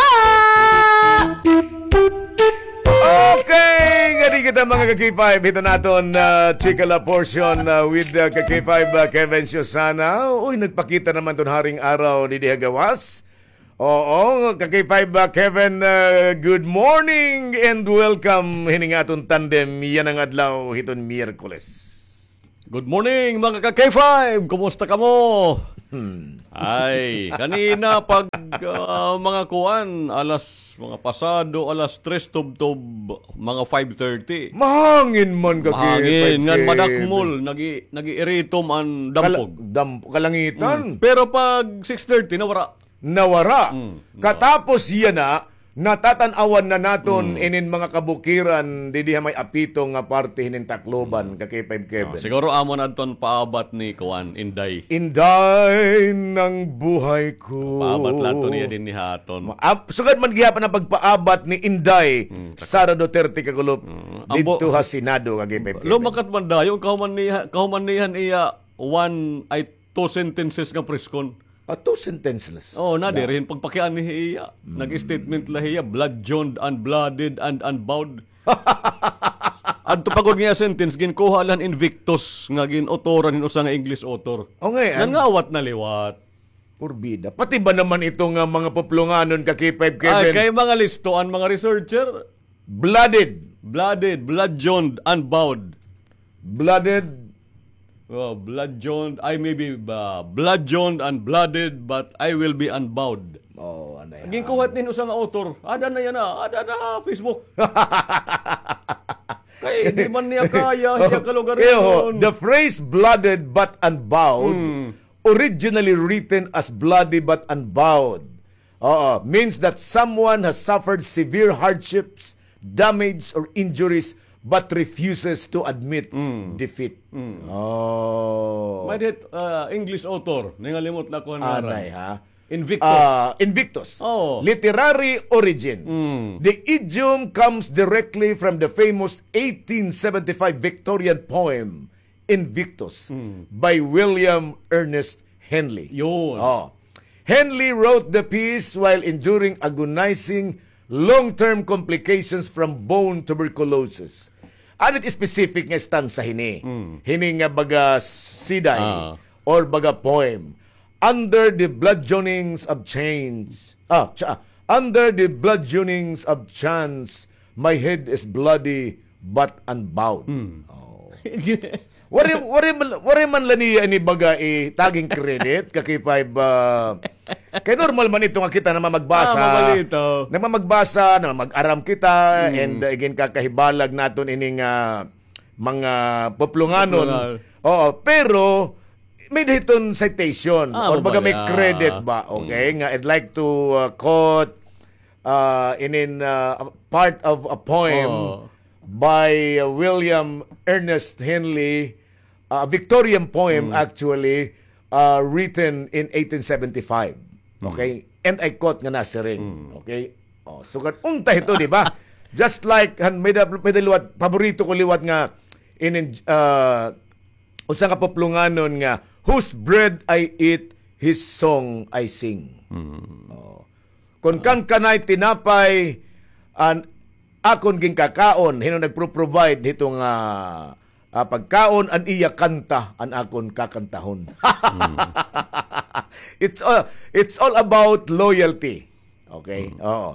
Okay, ngadi kita mga ka-K five, hito naton, ah, Chika La portion, ah, with, ah, ka-K five, ah, Kevin Susana. Uy, nagpakita naman ton haring araw didi ha gawas. Oo, ka-K five, ah, Kevin, ah, good morning and welcome hining aton tandem yana nga adlaw hiton Miyerkules. Good morning, mga ka-K five! Kumusta kamo? Hmm. Ay, kanina pag, ah, mga kuan, alas, mga pasado, alas tres tubtob, mga five thirty. Mahangin man ka, Mahangin, ngan madakmol, nagi-, nag-iiritom an dampog. Kala-, damp-, kalangitan. Hmm. Pero pag six thirty, nawara. Nawara. Mm, no. Katapos yana, natatan-awan na naton Mm. inin mga kabukiran didi ha may apito nga parte hinin Tacloban, Mm. ka-K five Kevin. Ah, siguro amo na adton paabat ni kuan, Inday. Inday ng buhay ko. Paabat la adto niya dinhi ha aton. Ma-, ap-, sugad man gihapon an pagpaabat ni Inday Mm, Sara Duterte Kagulop Mm. didto ha Senado, ka-K five Kevin. Lumakat man dayon, kahuman niya, kahuman niya han iya one, ay, two sentences nga preskon. Ah, two sentences. Oo, na, diri hin pagpakiana hiya. Mm. Nag-statement la hiya, bludgeoned, unblooded, and unbowed. Adto pa gud nga sentence, ginkuha la han Invictus nga gin-autoran hin usa nga English author. O, ngay-an. Nangawat na liwat. Purbida. Pati ba naman ito nga mga puplonganon ka-K five Kevin? Ay, kay mga listo an mga researcher. Blooded. Blooded, bludgeoned, unbowed. Blooded. Oh, bludgeoned. I may be, uh, bludgeoned and blooded, but I will be unbowed. Oh, ano yan? Ginkuha hin usa nga author. Ada na yana, ah. Ada na ha Facebook. Kay di man niya kaya, Oh, siya kalugar kaya ho, yun. The phrase blooded but unbowed, Hmm. originally written as bloody but unbowed, oo, means that someone has suffered severe hardships, damage, or injuries but refuses to admit Mm. defeat. Mm. Oh. May dit, ah, English author, nangalimot la ko an ngaran. Anay, ha? Invictus. Ah, Invictus. Oh. Literary origin. Mm. The idiom comes directly from the famous eighteen seventy-five Victorian poem, Invictus, Mm. by William Ernest Henley. Yun. Oh. Henley wrote the piece while enduring agonizing long-term complications from bone tuberculosis. Ano it specific nga stanza hini? Mm. Hini nga baga siday Ah. or baga poem. Under the bludgeonings of chains. Ah, cha-, under the bludgeonings of chance, my head is bloody but unbowed. Hmm. Oh. Waray, waray man, waray man la niya ini baga itaging credit, ka-K five, ah, kay normal man ito nga kita namamagbasa. Ah, mabalito. Namamagbasa, namamag-aram kita, Hmm. and, uh, iginkakahibalag naton ini nga mga puplonganon. Puplongan. Oo, pero may hiton citation Ah, or baga may mabaya. credit ba? Okay, Hmm. nga I'd like to, uh, quote, uh, inin, uh, part of a poem Oh. by, uh, William Ernest Henley, uh, a Victorian poem Mm. actually, uh, written in eighteen seventy-five. Mm. Okay? And I quote nga nasiring. Mm. Okay? Oh, sugad unta ito, di ba? Just like, han, may da-, may da liwat, paborito ko liwat nga, inin, uh, usa nga puplonganon nga, "Whose bread I eat, his song I sing." Mm. Oh. Kon kan kanay tinapay, an akon ginkakaon, hin-o nagpro-provide hito nga, ah, pagkaon, an iya kanta, an akon kakantahon. Mm. It's, uh, it's all about loyalty. Okay? Mm. Oo.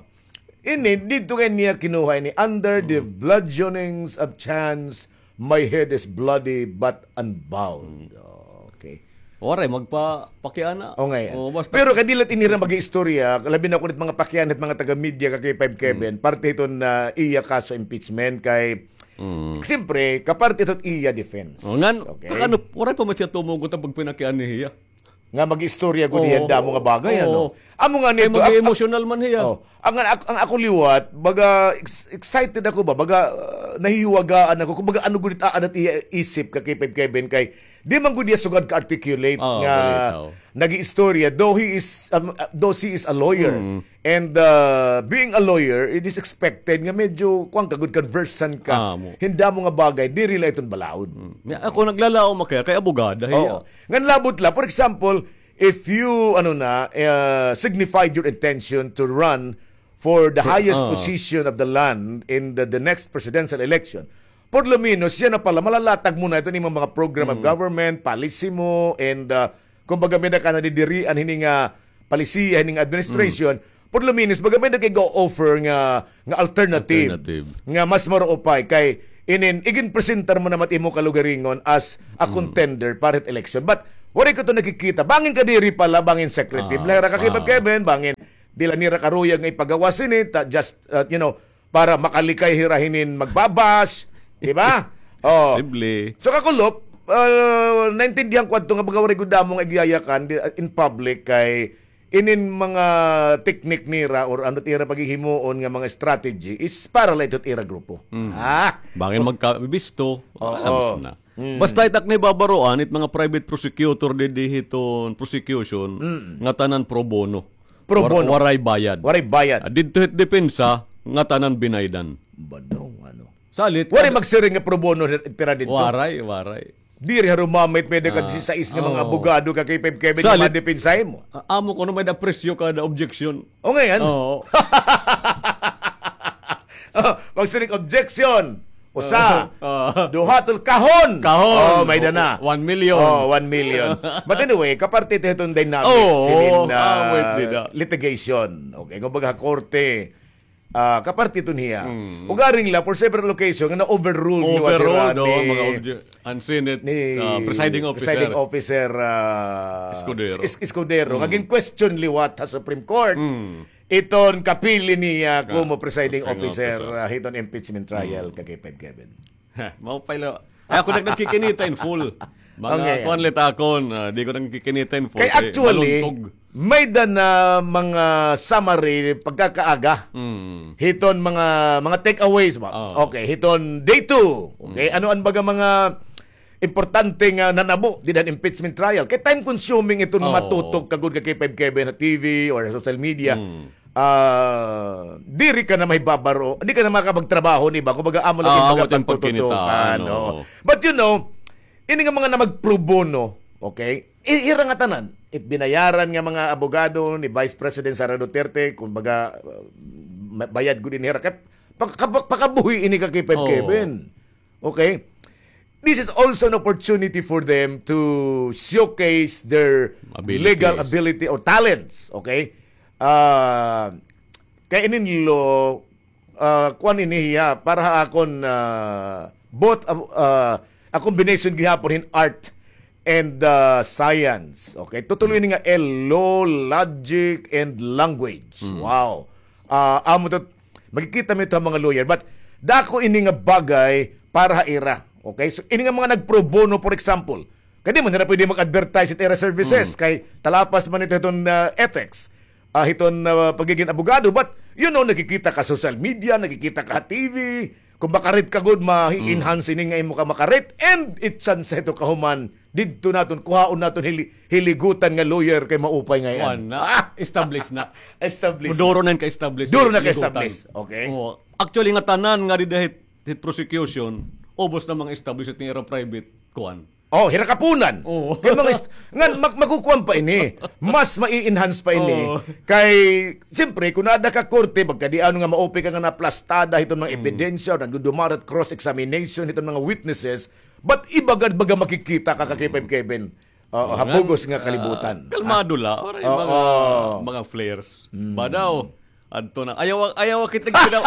Ini, didto kay niya kinuha ini, under the Mm. bludgeonings of chance, my head is bloody but unbowed. Mm. Okay. Waray magpapakiana. O, ngay-an. O, basta Pero kay dili la ini hira mag-iistorya, labi na kun it mga pakiana hit mga taga-media, ka-K five Kevin, Mm. parte hiton, ah, iya kaso impeachment kay, Mm. siyempre, kaparte hiton iya defense. O, ngan, Okay? kakano, waray pa man siya tumugot an pagpinakiana hiya. Nga mag-istorya gud hiya Oo. damo nga bagay, ano? Oo. Amo nga Kay nito, mag-emotional man hiya. Oh, ang, ang, ang ako liwat, baga ex-, excited ako ba? Baga, uh, nahihiwagaan ako. Kung baga, ano gud it aanat iya isip ka-K five Kevin kay, di man gud hiya sugad ka-articulate Oo, nga balitaw. nag-iistorya. Though he is, um, uh, though she is a lawyer, Mm. And, uh, being a lawyer, it is expected nga medyo, kuwan ka, good conversant ka. Ah, mo. Hin damo nga bagay, diri la iton balaod. Mm. Ako naglalaom ako kay abogada, hiya. Oo. Ngan labot la, for example, if you, ano na, uh, signified your intention to run for the highest position of the land in the, the next presidential election, por lo menos, siya na pala, malalatag mo na iton imong mga program of government, policy mo, and, uh, kumbaga, may-ada ka nadidirian hini nga palisiya, hini nga administration, por lo menos, baga may-ada kay ga-offer nga, nga alternative, nga mas maruupay kay inin, iginpresentar mo naman imo kalugaringon as a contender para hit election. But, waray ko ito nakikita. Bangin kadiri pala, bangin secretive la hira ka Kevin, bangin diri la nira karuyag nga ipagawas ini, ta, just, uh, you know, para makalikay hira hinin magbabash, di ba? Oh. Posible. So, kakulop, ah, naintindihan ko adto nga baga waray gud damo nga igyayakan di, in public kay inin mga teknik nira or ano it ira paghihimuon nga mga strategy is para la ito it ira grupo. Mm. Ah? Bangin magkabisto, alam na. Mm. Basta it ak nahibabaroan, it mga private prosecutor didi hiton prosecution, nga tanan pro bono. Pro bono. Waray bayad. Waray bayad. Ah, didto hit depensa, nga tanan binaydan. Badaw, ano. Salit. Waray magsiring nga pro bono, pira didto. Waray, waray. Diri ha rumamit may-ada ka disisais nga mga abogado ka kay Kevin nga madepensahi mo. Ah, amo kuno may-ada presyo kada objection. O, ngay-an. Oo. Oh, magsiring objection. Usa. Ah. Duha, tol, kahon. Kahon. Oh, may-ada na. One million. Oh, one million. But anyway, kaparte ito hiton dynamics hinin, ah, litigation. Okay, kumbaga, korte. Ah, kaparte ito niya. Ugaring la, for several occasion, nga na-overruled liwat hira ni, mga obje-, an Senate, ni ah, presiding officer. Presiding officer, ah, Escudero. Escudero. Nga gin-question liwat ha Supreme Court. Iton kapili niya komo presiding officer, ah, hiton impeachment trial, ka Kevin. Maupay la. Ay, ako nag-, nagkikinita in full. Mga kuan la it akon, ah, di ko nagkikinita in full kay actually, may-ada na mga summary pagkakaaga. Hiton mga, mga takeaways ba? Okay, hiton day two. Okay, ano an baga mga importante nga nanabo dida han impeachment trial. Kay time consuming iton matutok ka gud ka K five Kevin ha T V or social media. Ah, diri ka na mahibabaro, di ka na makapagtrabaho ni ba? Kumbaga, amo lagi baga pagtututukan, oo. But you know, ini nga mga na mag-pro bono, okay? I-, ira nga tanan. It binayaran nga mga abogado ni Vice President Sara Duterte, kumbaga, uh, ma-, bayad gud ini hira. Kay paka-, pakabuhi ini ka K five Kevin. Okay? This is also an opportunity for them to showcase their legal ability or talents. Okay? Ah, kay inin law, ah, kuan ini hiya, para ha akon, ah, both, ah, ah, a combination gihapon hin art and, ah, science. Okay? Tutuloy ini nga L, law, logic, and language. Wow. Ah, amo to, makikita mo ito ha mga lawyer. But dako ini nga bagay para ha ira. Okay? So, ini nga mga nag-pro bono, for example, kay di man hira pwede mag-advertise it ira services kay talapas man ito hiton, ah, ethics. Ah, hiton, ah, pagiging abogado. But, you know, nakikita ka social media, nakikita ka ha T V. Kung makarit ka gud, ma-enhance ini nga imo ka makarit. And it chance ito kahuman didto naton, kuhaon naton hili-, hiligutan nga lawyer kay maupay ngay-an. Kuan na. Ah! Establish na. Establish na. Duro na ka-establish. Duro na ka-establish. Okay. Oo. Actually, nga tanan nga dida hit, hit prosecution, ubos na mga establish it ira private, kuan. Oh, hira kapunan. Oo. Kay mga est-, ngan, mag-, magkukuan pa ini. Mas ma-enhance pa ini. Oo. Kay, siyempre, kung naada ka korte, magkadiano nga maupay ka nga naplastada hiton mga ebidensya, o nagdudumara it cross-examination hiton mga witnesses, but iba gad baga makikita ka, ka Kevin, Kevin. Oo, ha bugos nga kalibutan. Kalmado la, waray mga, mga flares. Ba daw? Adto na. Ayaw, ayaw kita ginaw.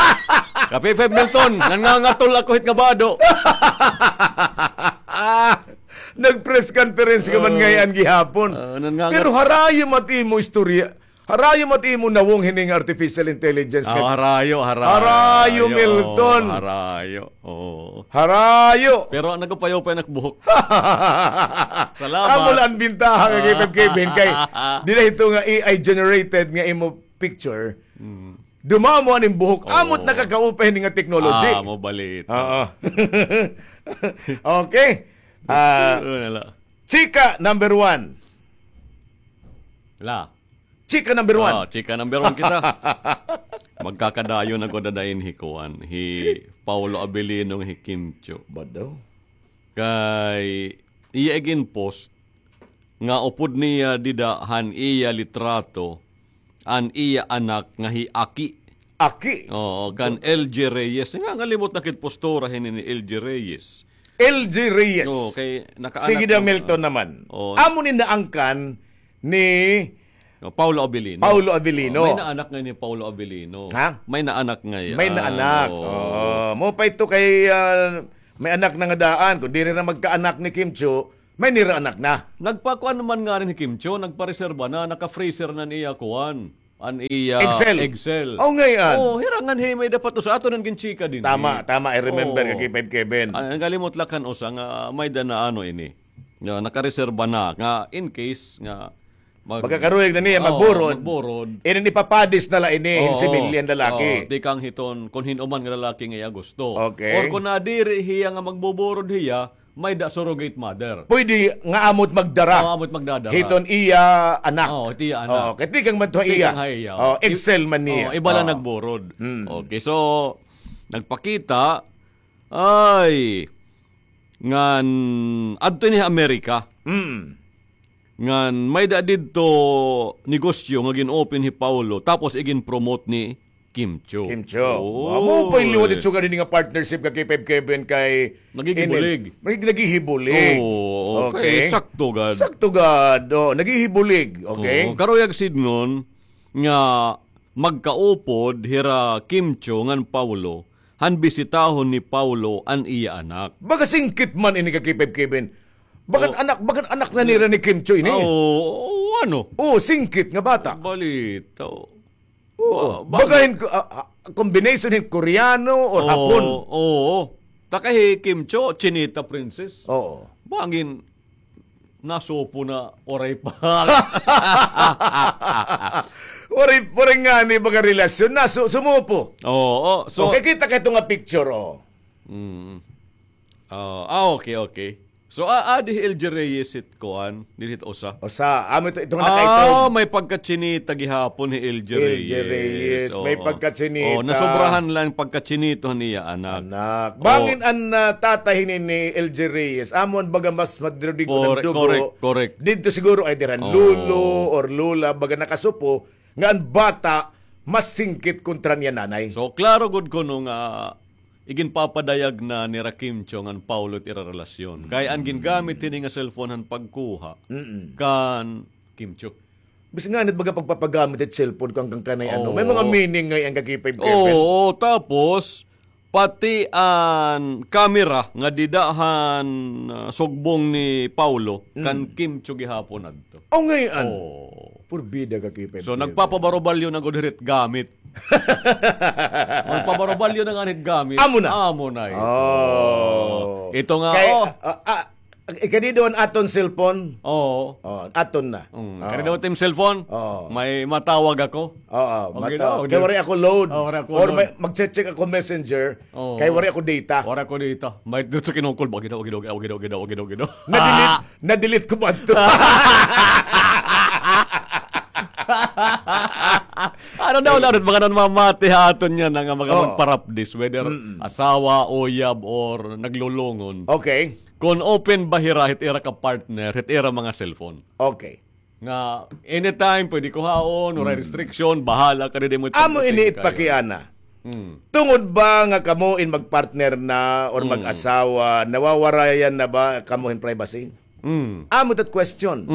Ka Kevin Milton, nangangatol ako hit nga bado. Nag-press conference ka man ngay-an gihapon. Ah, nangangat- Pero harayo man it imo istorya. Harayo man it imo nawong hini nga artificial intelligence. Ah, harayo, harayo. Harayo, Milton. Harayo. Oo. Harayo. Pero nagupay-upay an ak buhok. Salamat. Amo la an bintaha nga Kevin, Kevin, kay diri ito nga A I generated nga imo picture. Dumamo an im buhok. Amo it nakakaupay hini nga technology. Ah, amo bali ito. Oo. Okay. Ah, chika number one. La. Chika number one. Ah, chika number one kita. Magkakadayon ako dadain hi kuan, hi Paulo Abilino, hi Kim Chiu. Bado. Kay iya iginpost nga upod niya dida han iya litrato an iya anak nga hi Aki. Aki. Oo, kan L G Reyes. Nga, ngalimot na kit postura hini ni L G Reyes. L G Reyes. Oo, kay nakaanak. Sige daw, Milton naman. Oo. Amo ni naangkan ni Paulo Abilino. Paulo Abilino. Oh, may naanak ngay-an ni Paulo Abilino. Ha? May naanak ngay-an. May naanak. Oo. Oh, mao pa ito kay, ah, may anak na nga daan. Kon diri na magkaanak ni Kim Chiu, may nira anak na. Nagpakuan man ngani hi Kim Chiu, nagpareserba na, naka-freezer na an iya kuan. An iya Excel. Excel. Oh, ngay-an. Oh, hira ngan hi may-ada pa to sa aton nga ginchika dinhi. Tama, tama. I remember, oh, kay Five Kevin. Ah, nakalimot la kan usa nga may-ada na ano ini. Nga nakareserba na nga in case nga mag- Magkakaruyag na niya, oo, magburod. Magburod. Inin ipapadis na la ini, hin similya hin lalaki. Oo, tikang hiton, kon hin-o man nga lalaki nga iya gusto. Okay. Or kon nadiri hiya nga magbuburod hiya, may-ada surrogate mother. Pwede nga amo it magdara. Oo, amo it magdadara. Hiton iya anak. Oo, it iya anak. Oo, kay tikang man to iya. Tikang ha iya. Oo, Excel man niya. Oo, iba la nagburod. Mm. Okay, so, nagpakita, ay, ngan, adto ini ha Amerika. Mm. Ngan may-ada didto negosyo nga gin-open hi Paulo, tapos igin-promote ni Kim Chiu. Kim Chiu. Oo. Amo pa it liwat it sugad hini nga partnership ka K five Kevin kay naghihibulig. Nag-, naghihibulig. Oo, okay. Okay. Sakto gad. Sakto gad. Oh, naghihibulig. Okay. Oo, karuyag sidngon nga magkaupod hira Kim Chiu ngan Paulo han bisitahon ni Paulo an iya anak. Baga singkit man ini ka K five Kevin. Bagan anak, bagan anak na nira ni Kim Chiu ini. Oo, ano? Oo, singkit nga bata. Balita. Oo. Ba-, baga hin-, ah, ah, combination hin Koreano or Hapon. Oo. Ta kay hi Kim Chiu, Chinita Princess. Oo. Bangin nasupo na, waray pa. Waray, waray ngani baga relasyon, nasu-, sumupo. Oo, so okay, kita kay ito nga picture, oh. Mm. Ah, ah, okay, okay. So, ah, ah, di L G Reyes it kuan, dili it usa. Usa, amo ito, ito nga nakaitaw. Ah, may pagkachinita gihapon hi L G Reyes. L G Reyes, may pagkachinita. Oo, nasobrahan lang pagkachinito han iya anak. Anak. Oo. Bangin an, ah, tatay hini ni L G Reyes, amo an baga mas madrudigo ng dugo. Correct, correct. Didto siguro ay diri han lolo or lola, baga nakasupo, nga an bata mas singkit kontra niya nanay. So, klaro gud kuno nga iginpapadayag na nira Kim Chiu ngan Paulo it ira relasyon. Kay an gingamit hini nga cellphone han pagkuha kan Kim Chiu. Bisan ngani it baga pagpapagamit it cellphone kan, kan kanay ano. May mga meaning ngay-an ka K five Kevin. Oo, tapos, pati an camera nga dida han, ah, sugbong ni Paulo, kan Kim Chiu gihapon adto. Oh, ngay-an. Oo. Purbida ka K five Kevin. So, nagpapabarobalyo na gud hit gamit. Magpabarobalyo na nga hit gamit. Amo na. Amo na ito. Oh. Ito nga, kay, oh. Ah, ah, ikadi daw an aton cellphone. Oo. Oh, aton na. Mm, oh. Kadi daw it im cellphone. Oo. May matawag ako. Oo, okay mata-, daw, kay waray ako load. Oh, waray ako load. Or may, mag-check ako messenger. Oo. Kay waray ako data. Waray ako data. May dito sa kinukul. Wagi daw, wagi daw, wagi daw, wagi daw, wagi daw. Na-delete, na-delete ko ba ito? Ano daw, lalo, mga nanmamati ha aton niyan, nga mga magparapdis, whether asawa, uyab, or naglulungon. Okay. Kon open ba hira hit ira ka partner, hit ira mga cellphone. Okay. Nga anytime pwede kuhaon, waray restriction, bahala ka, diri mo. Amo ini it pakiana. Tungod ba nga kamo in magpartner na or mag-asawa, nawawarayan na ba kamo hin privacy? Amo it question.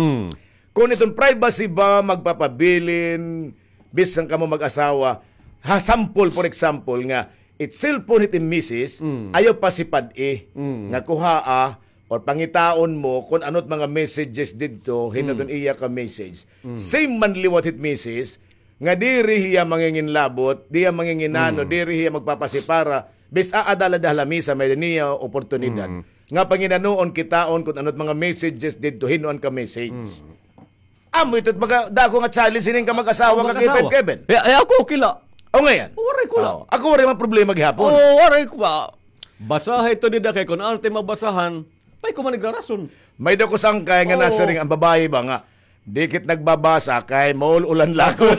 Kon iton privacy ba magpapabilin, bisan kamo mag-asawa, ha sample, for example, nga it cellphone hit im misis, ayaw pasipad-i nga kuhaa or pangitaon mo kon ano it mga messages didto, hin-o it iya ka message. Same man liwat hit misis, nga diri hiya manginginlabot, diri hiya manginginano, diri hiya magpapasipara, bis-a ada la ha lamisa, may-ada niya oportunidad. Nga panginanuon kitaon kon ano it mga messages didto, hin-o an ka message. Amo ito it baga dako nga challenge hinin ka mag-asawa ka, Kevin. Eh, eh, ako, okay la. O, ngay-an. Waray ko la. Ako, waray man problema gihapon. Oo, waray ko ba. Basaha ito dida kay kon ano it mabasahan, may ko man igrarason. May-ada ko sangkay nga nasiring an babaye ba nga, Di kit nagbabasa kay maul-ulan la ako.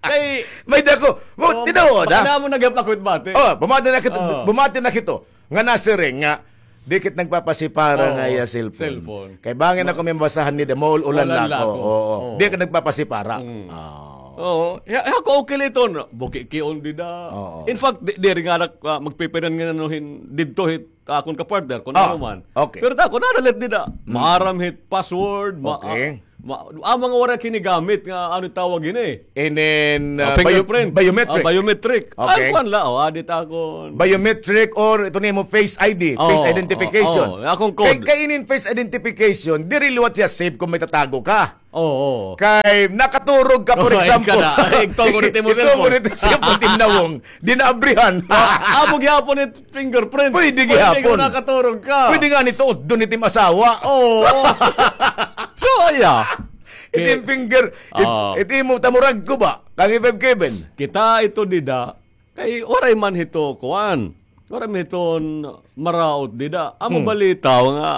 Kay, may dako. Mo, oh, tinuod, ha? Baka na mo nagyap ako it bati. Oh, bumati na kito, oh, bumati na kito. Nga nasiring nga, di kit nagpapasipara, oh, nga iya cellphone. Cellphone. Kay bangin ako may mabasahan ni da, maul-ulan la ako. Ulan la ako. Oo. Oo. Di ka nagpapasipara. Mm. Ah. Oo. Ya, ya, ako okay la iton. Buki kion dida. Oo. In fact, di, diri nga nak-, ah, magpipinan nga ano hin, didto hit akon ka-partner, kun ano man. Okay. Pero ta, kun ano la it dida. Mm. Maaram hit password, ma-, okay, ah, ma-, ah, mga waray kinigamit nga, ano tawag ini? And then, ah, ah, fingerprint. Bio-, biometric. Ah, biometric. Okay. Ay, kuan la, oh, adi ta akon. Biometric or ito na imo face I D, face identification. Oh, oh, oh, akong code. Kay, kay inin face identification, diri liwat hiya safe kung may tatago ka. Oo. Kay nakaturog ka, for example. Igtungo nito imo cellphone. Igtungo nito imo cellphone, timnawong. Di naabrihan. Ah, amo gihapon it fingerprint. Pwede gihapon. Pwede kung nakaturog ka. Pwede nga nito, dun it im asawa. Oo. So, yeah. It im finger, it, it imo tamurag ko ba? Kang F F Kevin. Kita ito dida. Kay waray man hito, kuan. Waray man hiton maraot dida. Amo balitaw nga,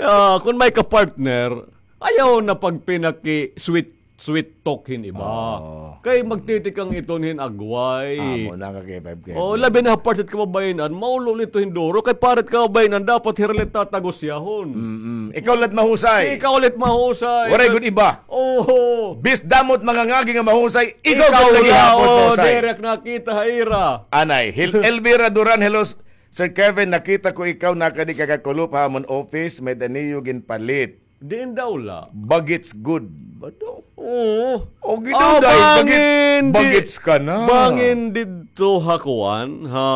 ah, kun may ka-partner, ayaw na pagpinaki-sweet, sweet talk hin iba. Oh. Kay magtitikang iton hin agway. Amo na ka, K five K. Oh, labi na ha part hit kababayen-an, maulo ito hin duro. Kay part hit kababayen-an, dapat hira la it tatagusyahon. Mm-mm. Ikaw la it mahusay. Ikaw la it mahusay. Waray gud iba. Oho. Bis damo it mangangagi nga mahusay, ikaw gud la gihapon mahusay. Diri ak nakita ha ira. Anay, Hil-, Elvira Duran, hello, s-, Sir Kevin, nakita ko ikaw nakadi ka kakulop ha amon office, may-ada niyo ginpalit. Diin daw la? Bagets gud. Ba daw? Oo. O, gidaw, ah, dahil bagets, bangin di-, bagets ka na. Bangin didto ha kuan, ha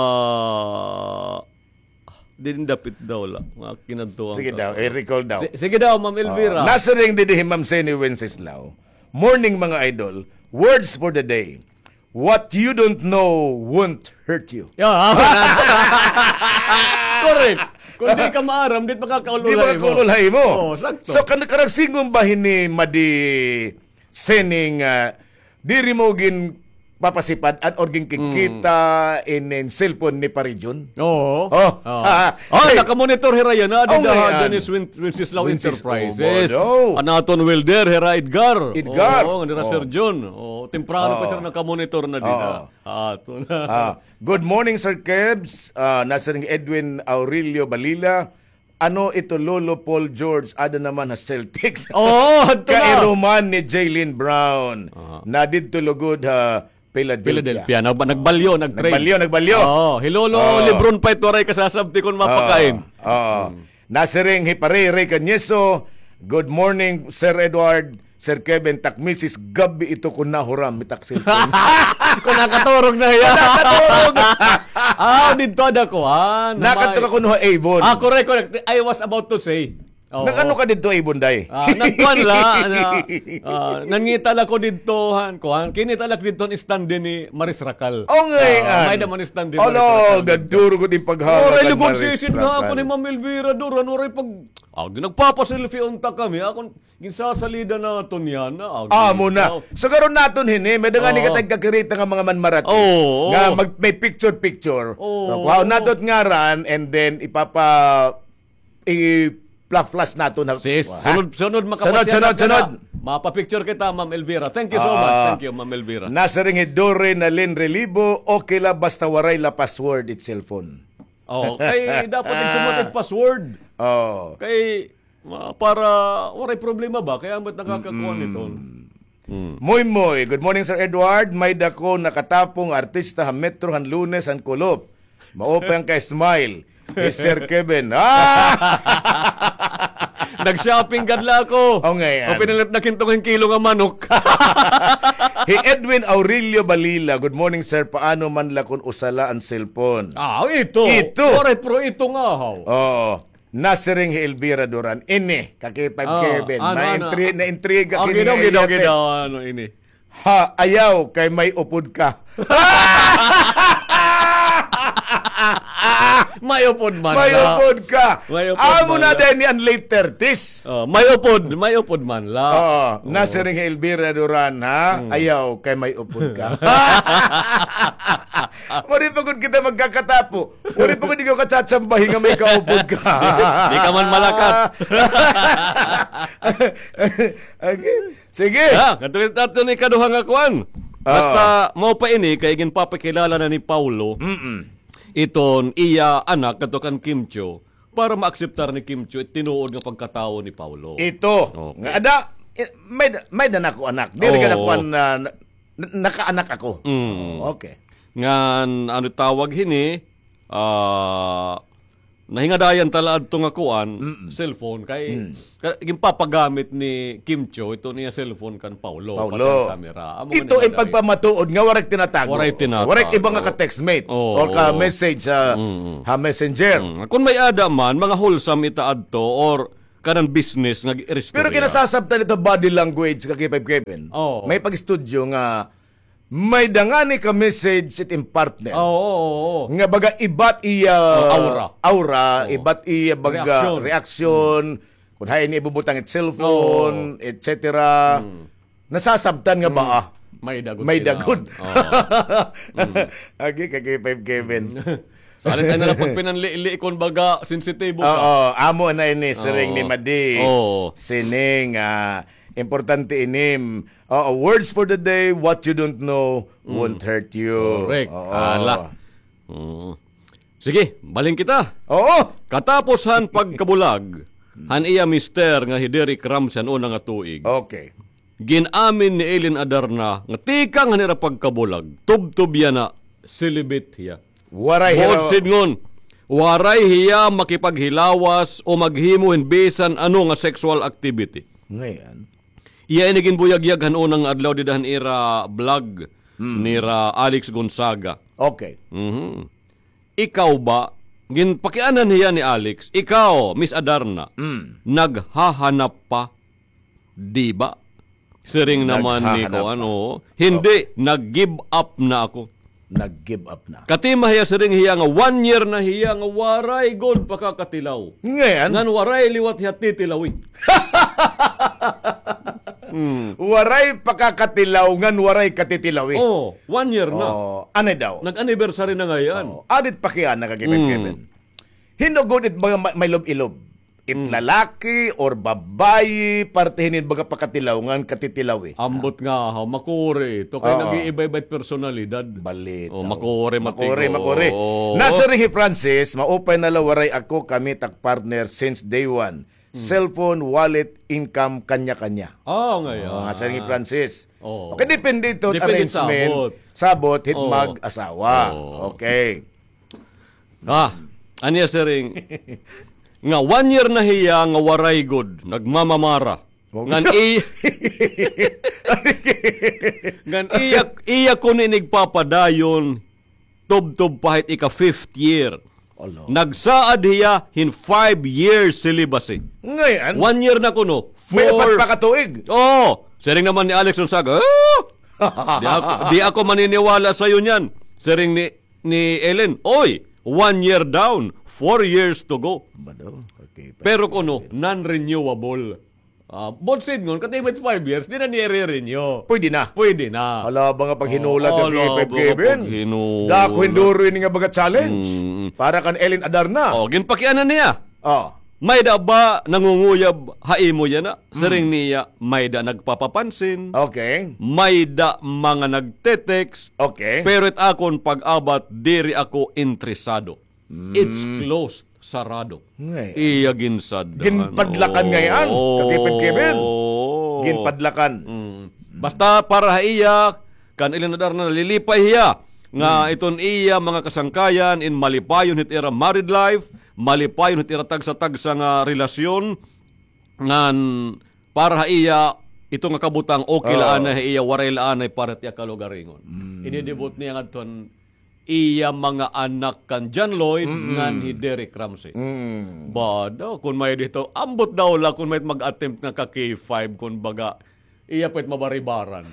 Didin dapit daw la. Mga kinadtuan. Sige daw, i-recall daw. Si-, sige daw, Ma'am Elvira. Ah, nasiring didi hi Ma'am Seni Wenceslao. Morning, mga idol. Words for the day. What you don't know won't hurt you. Yeah. Correct. Kung di ka maaram, di makakaululay mo. Di makakaululay mo. Oo, sakto. So, kan-, karag singon ba hini Madi Seni nga, ah, diri mo ginpapasipad-an or ginkikita inin cellphone ni Parijon? Oo. Oh. Oh, nakamonitor hira yana, dida ha Janice Win-, Wenceslao Enterprises. An aton welder, hira Edgar. Edgar. Oo, nira Sir John. Oo, temprano pa hira nakamonitor na dida. Oo. Aton. Ah, good morning, Sir Kebs. Ah, nasiring Edwin Aurelio Balila. Ano ito, Lolo Paul George, ada naman ha Celtics. Oo, adto na. Kairuman ni Jaylen Brown. Aha. Na didto lugod ha Philadelphia. Philadelphia. Nag-, nagbalyo, nag-trade. Nagbalyo, nagbalyo. Oo, hi Lolo Lebron pa ito, waray kasasabti kon mapakain. Oo. Nasiring hi Pare Ray Cañeso, "Good morning, Sir Edward." Sir Kevin, tak misis, gab-i ito kon nahuram, mitak cellphone. Kon nakaturog na hiya. Kon nakaturog. Ah, didto ada kuan. Nakaturog kuno ha Avon. Ah, correct, correct. I was about to say. Oo. Nag-ano ka didto, Avon, day? Ah, nagkuan la, na, ah, nangita la ko didto, han, kuan. Kinita la ko didto an stand ni Maris Racal. O, ngay-an. Ah, may-ada man stand ni Maris Racal didto. Ala, gaduro ko din paghawa kan Maris Racal. Waray lugod sisid nga ako ni Ma'am Elvira Duran, waray pag, ah, nagpapaselfie unta kami. Akon, ginsasalida naton yana, agi. Amo na. Siguro naton hini, may-ada ngani ka tagkakirita nga mga manmarati. Oo, oo. Nga mag-, may picture-picture. Oo. Kuhaon naton ngaran and then ipapa-, i-fla-flash naton na. Sis, sunod, sunod, makapasya na. Sunod, sunod, sunod. Mapa-picture kita, Ma'am Elvira. Thank you so much. Ah. Thank you, Ma'am Elvira. Nasiring hi Dore Nalin Relibo, okay la basta waray la password it cellphone. Oo, kay dapat igsumot it password. Oo. Kay Ma-, para waray problema ba? Kay amo it nakakakuan iton. Mm. Moy Moy, good morning, Sir Edward. May-ada ko nakatapo nga artista ha Metro han Lunes han kulop. Maupay an ka-smile. Hi Sir Kevin. Ah! Nag-shopping gad la ako. O, ngay-an. O, pinalit na kinto nga kilo nga manok. Hi Edwin Aurelio Balila, "Good morning, sir. Paano man la kon usa la an cellphone?" Ah, ito. Ito. Waray, pero ito nga, haw. Oo. Nasiring hi Elvira Duran. Ini, ka-K five Kevin. Ano, ano? Naintri-, naintriga kini nga iya text. Ano ini? Ha, ayaw, kay may upod ka. May upod man la. May upod ka. May upod man la. Amo na din ni an late thirties. Oh, may upod, may upod man la. Oo, nasiring hi Elvira Duran, ha? Hmm. Ayaw, kay may upod ka. Waray pa gud kita magkakatapo. Waray pa gud ikaw katsatsambahi nga may kaupod ka. Di, di ka man malakat. Okay. Sige. Ah, kadto kita adto han ikaduha nga kuan. Ah. Basta mao pa ini kay ginpapakilala na ni Paulo. Mm-mm. Iton iya anak kadto kan Kim Chiu para maakseptar ni Kim Chiu it tinuod nga pagkatawo ni Paulo. Ito. Okay. Nga ada, eh, may, may-ada na ako anak. Diri ka na Oo. kuan na, na, nakaanak ako. Mm. Oo, okay. Ngan, ano tawag hini, ah, nahingadayan ta la adto nga kuan, Mm-mm. cellphone, kay, Mm. ka-, ginpapagamit ni Kim Chiu, ito niya cellphone kan Paulo, Paulo. pati an camera. Amo nga nahingadayan. Ito ay pagpamatuod nga waray tinatago. Waray tinatago. Waray iba nga ka-textmate Oo. or ka-message sa, Mm-mm. ha messenger. Mm. Kung may-ada man, mga wholesome ita adto or kanan business nga gi-, Pero istorya. Kinasasabtan ito body language ka K five Kevin. Oo. May pag-estudyo nga may-ada ngani ka-message it im partner. Oo, oo, oo. Nga baga iba it iya Oh, aura. aura, Oo. iba it iya baga Reaksyon. reaksyon, kung hain niya ibubutang it cellphone, Oo. et cetera. Mm. Nasasabtan nga ba, Mm. ah? May-ada gud May-ada gud. Oo. Mm. Agi ka K five Kevin. Mm. Sa halin tayo na lang pagpinanli-li, kung baga, sensitibo ka. Oo, amo na ini, siring ni Oo. Madi. Oo. Sining, ah, importante ini. Oo, words for the day, what you don't know Mm. won't hurt you. Correct. Oo. Hala. Mm. Sige, balhin kita. Oo. Katapos han pagkabulag han iya mister nga hi Derek Ramsey han una nga tuig. Okay. Gin-amin ni Ellen Adarna nga tikang han ira pagkabulag, tubtob yana, celibate hiya. Waray Buot hira- sidngon, waray hiya makipaghilawas o maghimo hin bisan ano nga sexual activity. Ngayon. Iya ini ginbuyagyag han una nga adlaw dida han ira vlog Hmm. nira Alex Gonzaga. Okay. Mhm. Ikaw ba, ginpakianan hiya ni Alex, ikaw, Miss Adarna, Mm. naghahanap pa, di ba? Siring naman ni Naghahanap kuan, pa. Oo. Hindi, Okay. nag-give up na ako. Nag-give up na. Katima hiya, siring hiya nga one year na hiya nga waray gud pakakatilaw. Ngayon? Ngan waray liwat hiya titilawi. Hmm. Waray pakakatilaw, ngan waray katitilawi. Oo, one year na. Oo, anay daw. Nag-anniversary na ngay-an. Oo, adit pa kay ana ka Kevin, Mm. Kevin. Hin-o gud it mga ma-, may love-ilove. It Mm. lalaki or babayi, parte hinin baga pakatilaw ngan katitilawi. Ambot nga, ha, makuri ito. Kay Oo. nag-iiba-iba it personalidad. Balit, Oh, oo. makuri, Makuri, matigo. makuri. Oo. Nasiring hi Francis, maupay na la waray ako, kami tak partner since day one. Mm. Cellphone, wallet, income, kanya-kanya. Ah, nga Oo, yan. nga siring hi Francis. Oo. Okay, depende ito, Depende arrangement. sabot. Sabot, hit Oo. mag-asawa. Oo. Okay. Ah, ania siring. Nga one year na hiya nga waray gud, nagmamamara. Wow. Ngan i-, ngan iya, iya kuno ini igpapadayon, tubtob pa hit ika-fifth year. Ala. Nagsaad hiya hin five years celibacy. Ngayon? One year na kuno. May Four. apat pa ka tuig. Oo. Siring naman ni Alex Gonzaga, "Ah! Di ako, di ako maniniwala sa'yo niyan." Siring ni ni Ellen, "Oy, one year down, four years to go." Ba daw? Okay, Pero kuno, non-renewable. Ah, buot sidngon, katimit five years, di na niya i-renew. Pwede na. Pwede na. Hala, mga paghinulat Oo, yung hala, K five mga Kevin. paghinulat. Dako hinduro ini nga baga challenge. Mm. Para kan Ellen Adarna. Oh, ginpakianan niya. Oh. May-ada ba nangunguyab ha imo yana? Siring niya, may-ada nagpapapansin. Okay. May-ada mga nagte-text. Okay. Pero it akon pag-abat, diri ako interesado. Mm. It's closed, sarado. Ngay-an. Iya ginsadhan. Ginpadlakan ngay-an, Oo. Kakipit Kevin. Ginpadlakan. Mm. Basta para ha iya, kan Ellen Adarna nalilipay hiya nga Mm. iton iya mga kasangkayan in malipayon hit ira married life, malipayon hit ira tagsa-tagsa nga relasyon, ngan para ha iya, ito nga kabutang, okay la anay ha iya, waray la anay para ha iya kalugaringon. Mm. Ididibot niya ngadto han iya mga anak kan John Lloyd Mm-mm. ngan hi Derek Ramsey. Mm. Ba daw, kun may dito, ambot daw la, kun may mag-attempt nga ka K five, kun baga, iya pa it mabaribaran.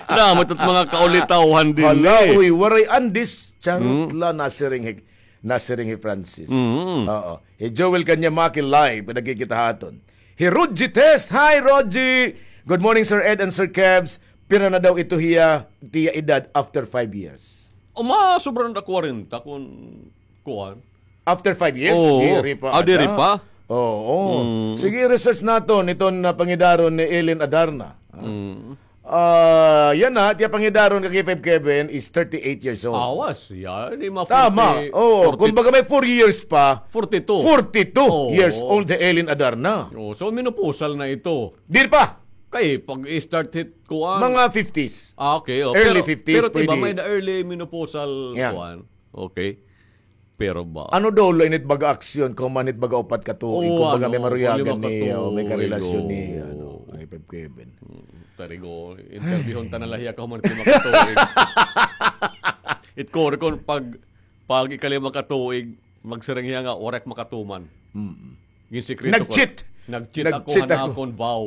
Damo it mga kaulitawhan din Hala, eh. uy, waray andis. Charot Mm. la, nasiring hi, nasiring hi Francis. Mm. Oo. Hi Joel Kanyamaki live, nagkikita haton. Hi Rodji Test. Hi, Rodji. Good morning, Sir Ed and Sir Kevs. Pira na daw ito hiya, tiya edad after five years? O, masobra na kwarenta kun kuan. After five years? Oo. Diri pa. Ah, diri pa? Oo. Mm. Sige, research naton iton, ah, pangidaron ni Ellen Adarna. Ah. Mm. Ah, yana, tiya pangidaron ka K five Kevin is thirty-eight years old. Awas, yan, di ma-, Tama. Oo, forty, kun baga may four years pa, forty-two. Forty-two Oo. years old si Ellen Adarna. Oo, so menopausal na ito. Diri pa. Kay pag-start hit kuan. Mga fifties. Ah, okay, oh. Early Pero, fifties, pero, di ba, pwede. May the early menopausal Yeah. kuan. Okay. Pero ba? Ano daw, lain it baga aksyon, kahuman hit baga upat ka tuig, Oo, kung baga may ano, maruyagan kung lima ka ni, oh, may tuig, karelasyon ni, oo. ano, K five Kevin. Hmm, tarigo, interviewon ta na la hiya, kahuman hit lima ka tuig. It kore kon pag, pag ikalima ka tuig, magsiring hiya nga, waray ak makatuman. Mm. Ginsikreto ko. Nag-cheat. Nag-cheat ako, Nag-cheat han ako. akon vow.